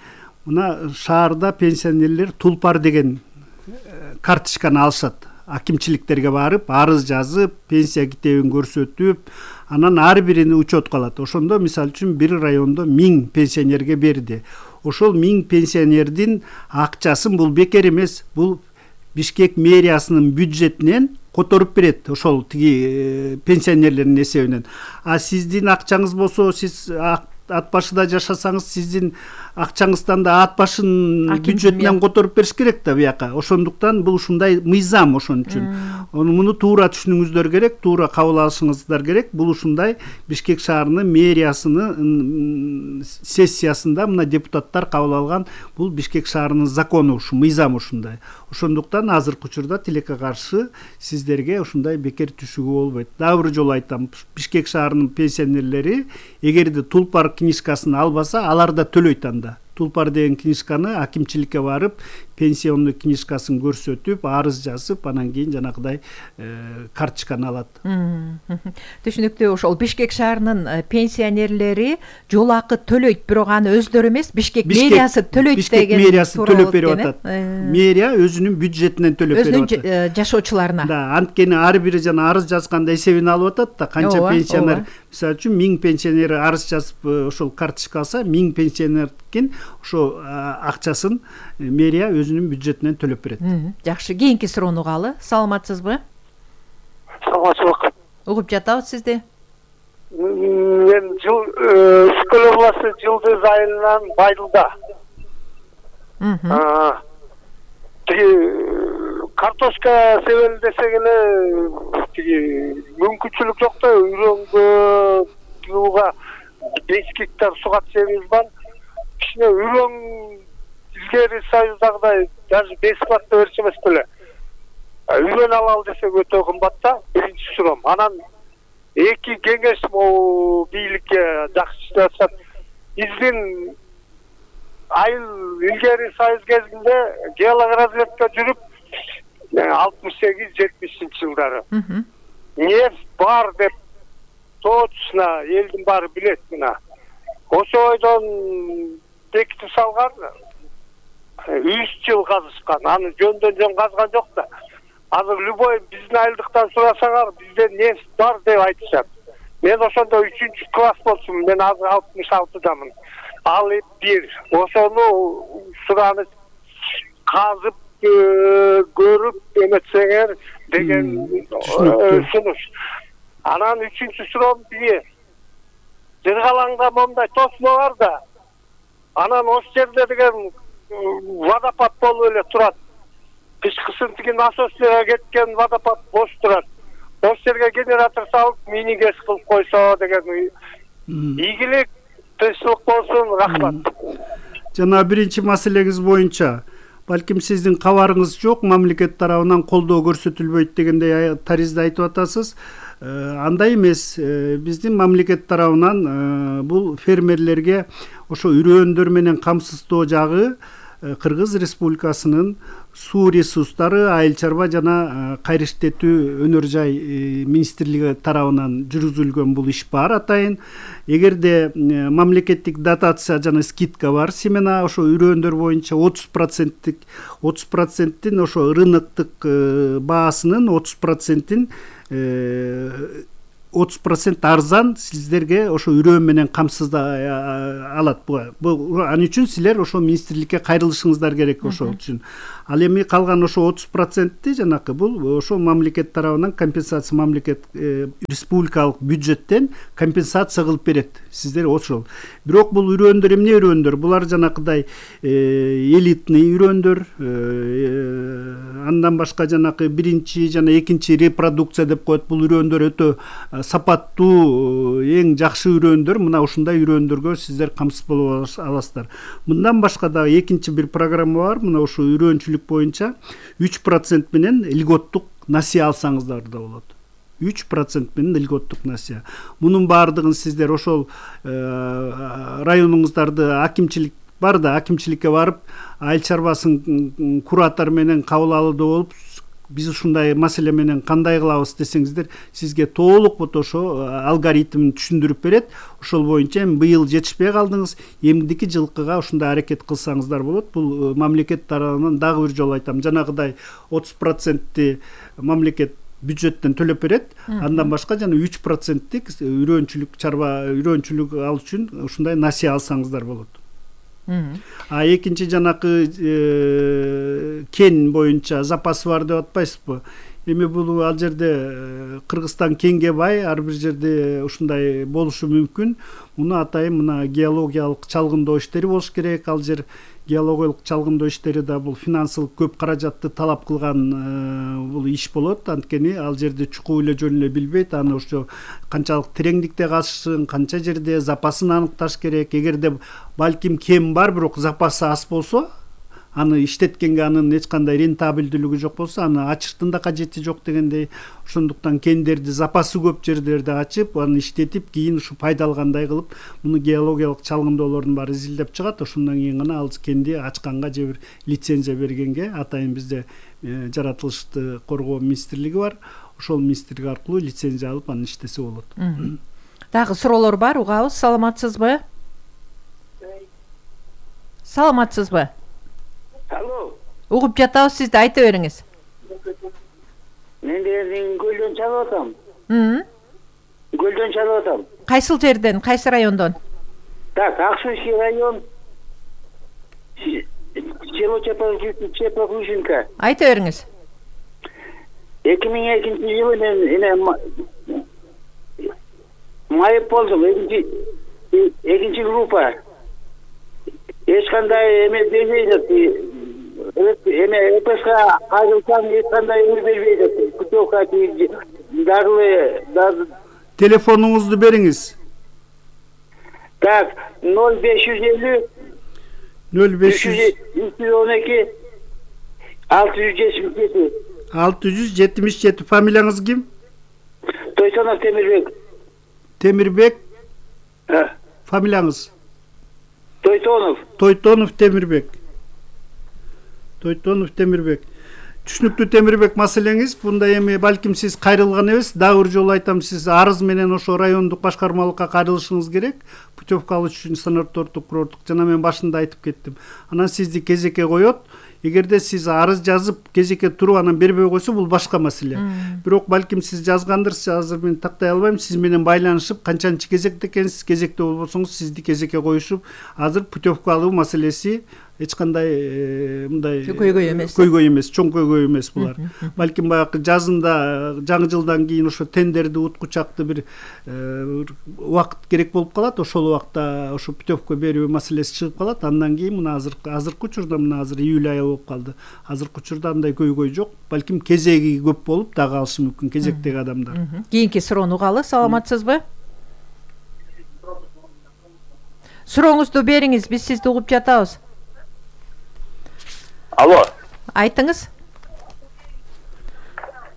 Мына шаарда пенсионерлер тулпар деген карточканы алышат. Акимчиликтерге барып, арыз жазып, пенсия китебин көрсөтүп, анан ар бирини учет калат. Ошондо мисалы үчүн бир райондо 1000 пенсионерге берди. Ошол 1000 пенсионердин акчасын бул бекер эмес, бул Бишкек мэриясынын бюджетинен которуп берет, ошол тиги пенсионерлердин эсебинен. А сиздин акчаңыз болсо, сиз Ат Башыда жашасаңыз, сиздин акчаңыздан да Ат Башынын бюджетинен которуп бериш керек да бияка. Ошондуктан бул ушундай мыйзам ошон үчүн. Муну туура түшүнүңүздөр керек, туура кабыл алышыңыздар керек. Бул ушундай Бишкек шаарынын мэриясынын сессиясында мына депутаттар кабыл алган бул Бишкек шаарынын закону, ушу мыйзам ушундай. Ошондуктан азыркы учурда тилекке каршы сиздерге ушундай бекер түшүүгө болбойт. Дагы бир жолу айтам, Бишкек шаарынын пенсионерлери эгерде тулпар книжкасын албаса, алар да төлөйт анда. Тулпар деген книжканы акимчиликке барып, пенсионный книжкасын көрсөтүп, арыз жазып, анан кийин жанагыдай карточканы алат. Түшүнүктүү. Ошол Бишкек шаарынын пенсионерлери жол акы төлөйт, бирок аны өздөрү эмес, Бишкек мэриясы төлөйт деген. Бишкек мэриясы төлөп берип атат. Мэрия өзүнүн бюджетинен төлөп берип атат. Өзүнүн жашоочуларына. Да, анткени ар бири жана арыз жазганда эсебин алып атат да, канча пенсионер, мисалы үчүн 1000 пенсионер арыз жазып ошол карточка алса, 1000 пенсионердин ошо акчасын мэрия өзүнүн бюджетинен төлөп берет. Жакшы, кийинки суроону угалы. Саламатсызбы? Саламатсызбы. Угуп жатабыз сизди. Мен Үскөл областы Жылдыз айылынан Байдылда. Картошка себели десек эле мүмкүнчүлүк жок да, үйрөнгө 5 гектар суга себебиз бар. Кичине үйрөн илгери союздагыдай даже бесплатно берчү эмес беле. Үйлөнүп алалы десек өтө кымбат да, биринчи суром. Анан эки кеңеш могу бийликке жакшы иштеп атышат. Биздин айыл илгери союз кезинде геологоразведка жүрүп 68-70 жылдары. Нефть бар деп точно элдин баары билет мына. Ошо ойдон бекитип салган 3 жыл казышкан. Аны жөндөн жөн казган жок да. Азыр любой биздин айылдыктан сурасаңар, бизде нефть бар деп айтышат. Мен ошондо 3-класс болчумун. Мен азыр 66-дамын. Ал бир. Ошону суранып казып көрүп эметсеңер деген сунуш. Анан 3-чү суром бие. Жыргалаңда момундай тосмо бар да. Анан ош жерде деген водопад болуп эле турат. Кышкысын тиги насосчуга кеткен водопад бош турат. Ош жерге генератор салып, мини-газ кылып койсо деген ийгилик, тынччылык болсун, рахмат. Жана биринчи маселеңиз боюнча балким сиздин кабарыңыз жок, мамлекет тарабынан колдоо көрсөтүлбөйт дегендей таризде айтып атасыз. Андай эмес, биздин мамлекет тарабынан бул фермерлерге ошо үрөөндөр менен камсыздоо жагы Кыргыз Республикасынын суу ресурстары, айыл чарба жана кайрыштетүү өнөр жай министрлиги тарабынан жүргүзүлгөн бул иш бар атайын. Эгерде мамлекеттик дотация жана скидка бар, семена ошо үрөөндөр боюнча 30%тин ошо рыноктук баасынын 30% арзан сиздерге ошо үрөө менен камсыздай алат. Бул аны үчүн силер ошо министрликке кайрылышыңыздар керек ошол үчүн. Ал эми калган ошо 30%ти жанакы бул ошо мамлекет тарабынан компенсация, мамлекет республикалык бюджеттен компенсация кылып берет. Сиздер ошол. Бирок бул үрөөндөр эмне үрөөндөр? Булар жанакыдай элитный үрөөндөр, андан башка жанакы биринчи жана экинчи репродукция деп коет. Бул үрөөндөр өтө сапаттуу, эң жакшы үрөөндөр. Мына ушундай үрөөндөргө сиздер камсыз болуп аласыздар. Мындан башка да экинчи бир программа бар. Мына ушу үрөөнчүлүк боюнча 3% менен льготтук насыя алсаңыздар да болот. 3% менен льготтук насыя. Мунун баардыгын сиздер ошол районуңуздарды акимчилик бар да, акимчиликке барып, айыл чарбасын куратор менен кабыл алууда болуп, биз ушундай маселе менен кандай кылабыз десеңиздер, сизге толук ошо алгоритмин түшүндүрүп берет. Ошол боюнча быйыл жетишпей калдыңыз, эмдики жылкыга ушундай аракет кылсаңыздар болот. Бул мамлекет тарабынан дагы бир жолу айтам, жанагыдай 30%ти мамлекет бюджеттен төлөп берет. Андан башка жана 3%тик үрөөнчүлүк чарба, үрөөнчүлүк алуу үчүн ушундай насыя алсаңыздар болот. А экинчи жанакы кен боюнча запас бар деп атпайсызбы? Эми бул ал жерде Кыргызстан кенге бай, ар бир жерде ушундай болушу мүмкүн. Муну атайын мына геологиялык чалгындоо иштери болуш керек. Ал жер геологиялык чалгындоо иштери да бул финансылык көп каражатты талап кылган бул иш болот. Анткени ал жерде чукуу эле жөн эле билбейт. Аны ошо канчалык тереңдикте казышын, канча жерде запасын аныкташ керек. Эгерде балким кем бар, бирок запасы аз болсо, аны иштеткенге анын эч кандай рентабелдүүлүгү жок болсо, аны ачыштын да кажети жок дегендей. Ошондуктан кендерди запасы көп жерлерде ачып, аны иштетип, кийин ушу пайда алгандай кылып, муну геологиялык чалгындоолордун баары изилдеп чыгат. Ошондон кийин гана ал кенди ачканга же бир лицензия бергенге, атайын бизде жаратылышты коргоо министрлиги бар. Ошол министрлик аркылуу лицензия алып, аны иштесе болот. Дагы суроолор бар, угабыз. Саламатсызбы? Саламатсызбы? Алло. Угуп жатабыз, сизди айта бериңиз. Мен Көлдөн чалып атам. Көлдөн чалып атам. Кайсыл жерден, кайсы райондон? Так, Аксуйский район. Село Чепа-Крушинка. Айта бериңиз. 2002-жылы мен майып болдум, экинчи группа. Эч кандай эме бербейт. Эме ЭПСК кайрылсам эч кандай эме бербейт. Путевка дарылы. Телефонуңузду бериңиз. Так, 0550 0500 312 677. 677. Фамилияңыз ким? Тойтонов Темирбек. Темирбек. Фамилияңыз? Тойтонов Темирбек. Тойтонов Темирбек. Түшүнүктүү Темирбек маселеңиз. Бундай эми балким сиз кайрылган эмес. Дагы бир жолу айтам, сиз арыз менен ошо райондук башкармалыкка кайрылышыңыз керек. Путевка алыш үчүн санатордук, курорттук. Жана мен башында айтып кеттим. Анан сизди кезекке коет. Эгерде сиз арыз жазып кезекке туруп анан бербей койсо бул башка маселе. Бирок балким сиз жазгандырсыз, азыр мен тактай албайм. Сиз менен байланышып, канчанчы кезекте экенсиз, кезекте болбосоңуз сизди кезекке коюшуп, азыр путевка алуу маселеси эч кандай мындай көйгөй эмес, чоң көйгөй эмес булар. Балким баягы жазында, жаңы жылдан кийин ошо тендерди уткучакты бир убакыт керек болуп калат. Ошол убакта ошо путевка берүү маселеси чыгып калат. Андан кийин мына азыркы учурда, мына азыр июль айы болуп калды. Азыркы учурда андай көйгөй жок. Балким кезеги көп болуп дагы алышы мүмкүн кезектеги адамдар. Кийинки суроону угалы. Саламатсызбы? Сурооңузду бериңиз, биз сизди угуп жатабыз. Алло. Айтыңыз.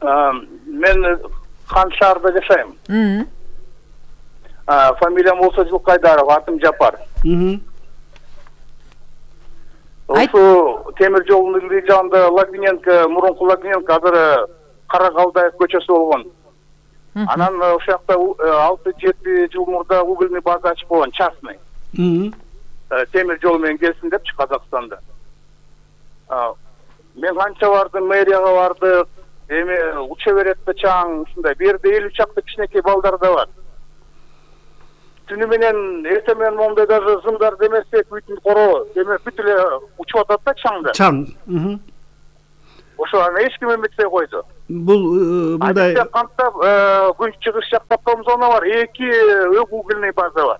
Мен Хан шаарда жашайм. Фамилиям болсо Жылкайдаров, атым Жапар. Ошо темир жолдун ылдый жагында Лагвиненко, мурунку Лагвиненко, азыр Карагалдаев көчөсү болгон. Анан ошол жакта 6-7 жыл мурда угольный база ачып койгон, частный. Темир жол менен келсин депчи Казакстанда. Мен канча бардым, мэрияга бардык, эми уча берет да чаң, ушундай. Бу жерде 50 чакты кичинекей балдар да бар. Түнү менен, эртең менен моундай даже зымдар демесек, бүтүн коро, демек бүт эле учуп атат да чаңда. Чаң. Ошо аны эч ким эметпей койду. Бул мындай кантап күн чыгыш жакта зона бар, 2 угольный база бар.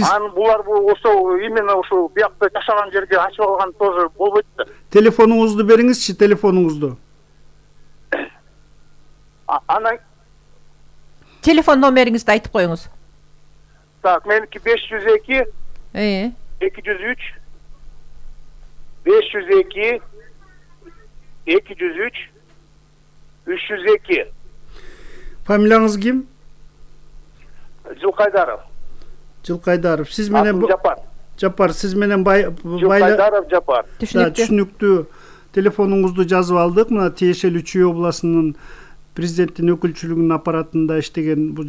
Анан булар ошо именно ошо биякта жашаган жерге ачып алган тоже болбойт да. Телефонуңузду бериңизчи, телефонуңузду. Анан телефон номериңизди айтып коюңуз. Так, меники 502 203 502 203 302. Фамилияңыз ким? Жылкайдаров. Жылкайдаров. Сиз менен Жапар, сиз менен Жылкайдаров Жапар. Түшүнүктүү. Телефонуңузду жазып алдык. Мына тиешелүү Чүй областынын президенттин өкүлчүлүгүнүн аппаратында иштеген, бул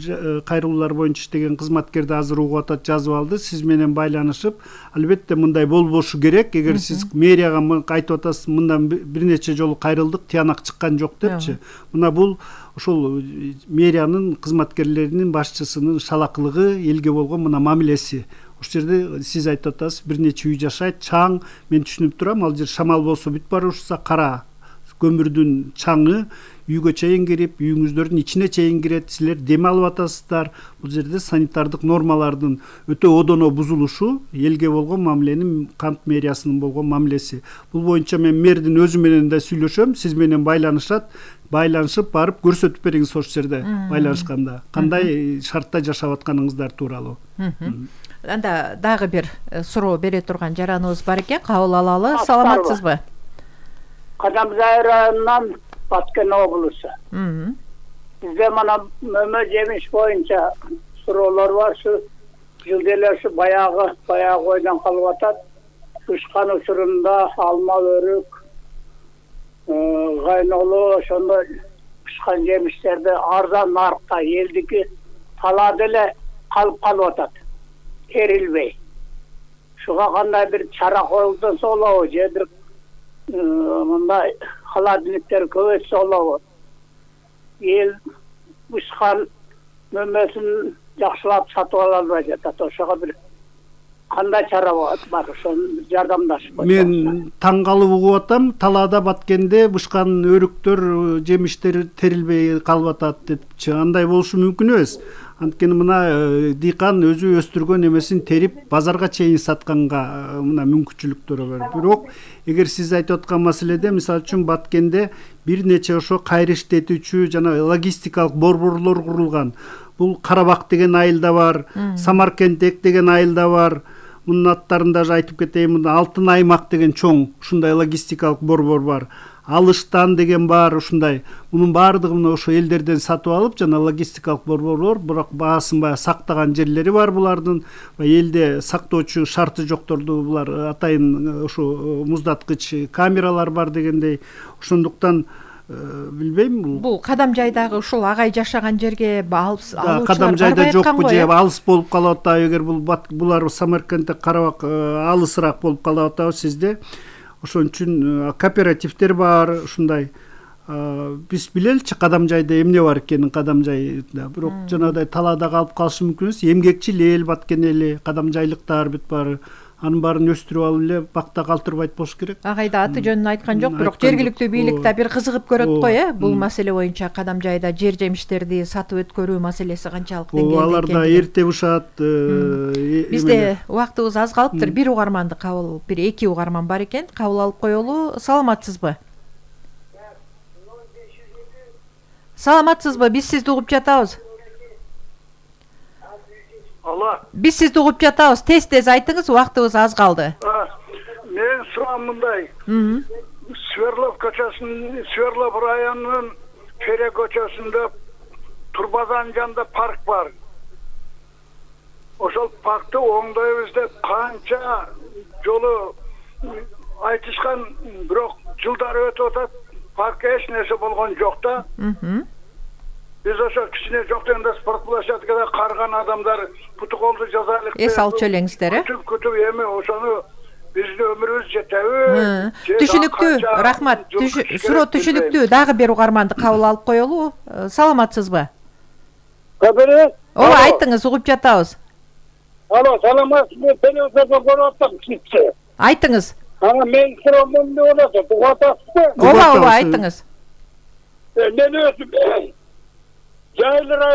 кайрылуулар боюнча иштеген кызматкерди азыр угуп атат, жазып алды. Сиз менен байланышып, албетте мындай болбошу керек. Эгер сиз мэрияга айтып атасыз, мындан бир нече жолу кайрылдык, тыянак чыккан жок депчи. Мына бул ошол мэриянын кызматкерлеринин башчысынын шалакылыгы, элге болгон мына мамилеси. Ошол жерде сиз айтып атасыз, бир нече үй жашайт, чаң. Мен түшүнүп турам, ал жер шамал болсо бүт барышса, кара көмүрдүн чаңы үйгө чейин кирип, үйүңүздөрдүн ичине чейин кирет, силер дем алып атасыздар. Бул жерде санитардык нормалардын өтө одоно бузулушу, элге болгон мамиленин, Кант мэриясынын болгон мамилеси. Бул боюнча мен мэрдин өзү менен да сүйлөшөм, сиз менен байланышып барып көрсөтүп бериңиз ошол жерде байланышканда. Кандай шартта жашап атканыңыздар тууралуу. Анда дагы бир суроо бере турган жараныбыз бар экен, кабыл алалы. Саламатсызбы? Кадамзай районунан Баткен облусу. Бизде мана мөмө жемиш боюнча суроолор бар. Şu жылда эле ушу баягы ойдон калып атат. Ушкан учурунда алма, өрүк, гайнолу ошондой ушкан жемиштерди арзан нарыкка элдики талаада эле калып атат. Эрилбей. Шуга кандай бир чара коюлса болобу, же бир мындай холодильниктер көбөйтсө болобу. Эл ушкан мөмөсүн жакшылап сатып ала албай жатат. Ошого бир кандай чара бар, ошону жардамдашып койсоңуз. Мен таң калып угуп атам, талаада Баткенде ушкан өрүктөр, жемиштер терилбей калып атат депчи. Андай болушу мүмкүн эмес. Анткени мына дыйкан өзү өстүргөн эмесин терип базарга чейин сатканга мына мүмкүнчүлүктөрү бар. Бирок эгер сиз айтып аткан маселеде, мисалы үчүн Баткенде бир нече ошо кайры иштетүүчү жана логистикалык борборлор курулган. Бул Карабак деген айылда бар, Самаркент деген айылда бар. мунун аттарын даже айтып кетейин. Мында Алтын аймак деген чоң ушундай логистикалык борбор бар. Алыштан деген бар ушундай. Мунун баардыгы мына ошо элдерден сатып алып, жана логистикалык борборлор, бирок баасын баягы сактаган жерлери бар булардын. Элде сактоочу шарты жокторду булар атайын ошо муздаткыч камералар бар дегендей. Ошондуктан билбейм, бул кадам жайдагы ушул агай жашаган жерге алуучулар кадам жайда жокпу же алыс болуп калып атабы, эгер булар Самаркандда карабак алысыраак болуп калып атабы сизде. Ошон үчүн кооперативдер бар, ушундай. Биз билеличи кадам жайда эмне бар экенин, кадам жайда. Бирок жанагыдай талаада калып калышы мүмкүн эмес. Эмгекчил эл, баткен эли, кадам жайлыктар бүт баары. Анын баарын өстүрүп алып эле бакта калтырбайт болуш керек. Агайда аты жөнүн айткан жок, бирок жергиликтүү бийлик да бир кызыгып көрөт го, бул маселе боюнча кадам жайда жер жемиштерди сатып өткөрүү маселеси канчалык деңгээлде экенин. Алар да эрте бушат. Бизде убактыбыз аз калыптыр. Бир угарманды кабыл, бир эки угарман бар экен. Кабыл алып коелу. Саламатсызбы? Саламатсызбы? Биз сизди угуп жатабыз. Биз сизди угуп жатабыз. Тез айтыңыз, убактыбыз аз калды. Менин суроом мындай. Сверлов көчөсүнүн, Сверлов районунун Фере көчөсүндө Турбазанын жанында парк бар. Ошол паркты оңдойбуз деп канча жолу айтышкан, бирок жылдар өтүп атат, паркка эч нерсе болгон жок да. Биз ошо кичине жок дегенде спорт площадкада карган адамдар путу колду жазайлык. Эс алып элеңиздер, Күтүп эми ошону биздин өмүрүбүз жетеби? Түшүнүктүү, рахмат. Суроо түшүнүктүү. Дагы бир угарманды кабыл алып коелу. Саламатсызбы? Кабары? Ооба, айтыңыз, угуп жатабыз. Алло, саламатсызбы? Телевизордон көрүп атам сизди. Айтыңыз. Мен суроом эмне болот? Угуп атасызбы? Ооба, айтыңыз. Мен өзүм жайлы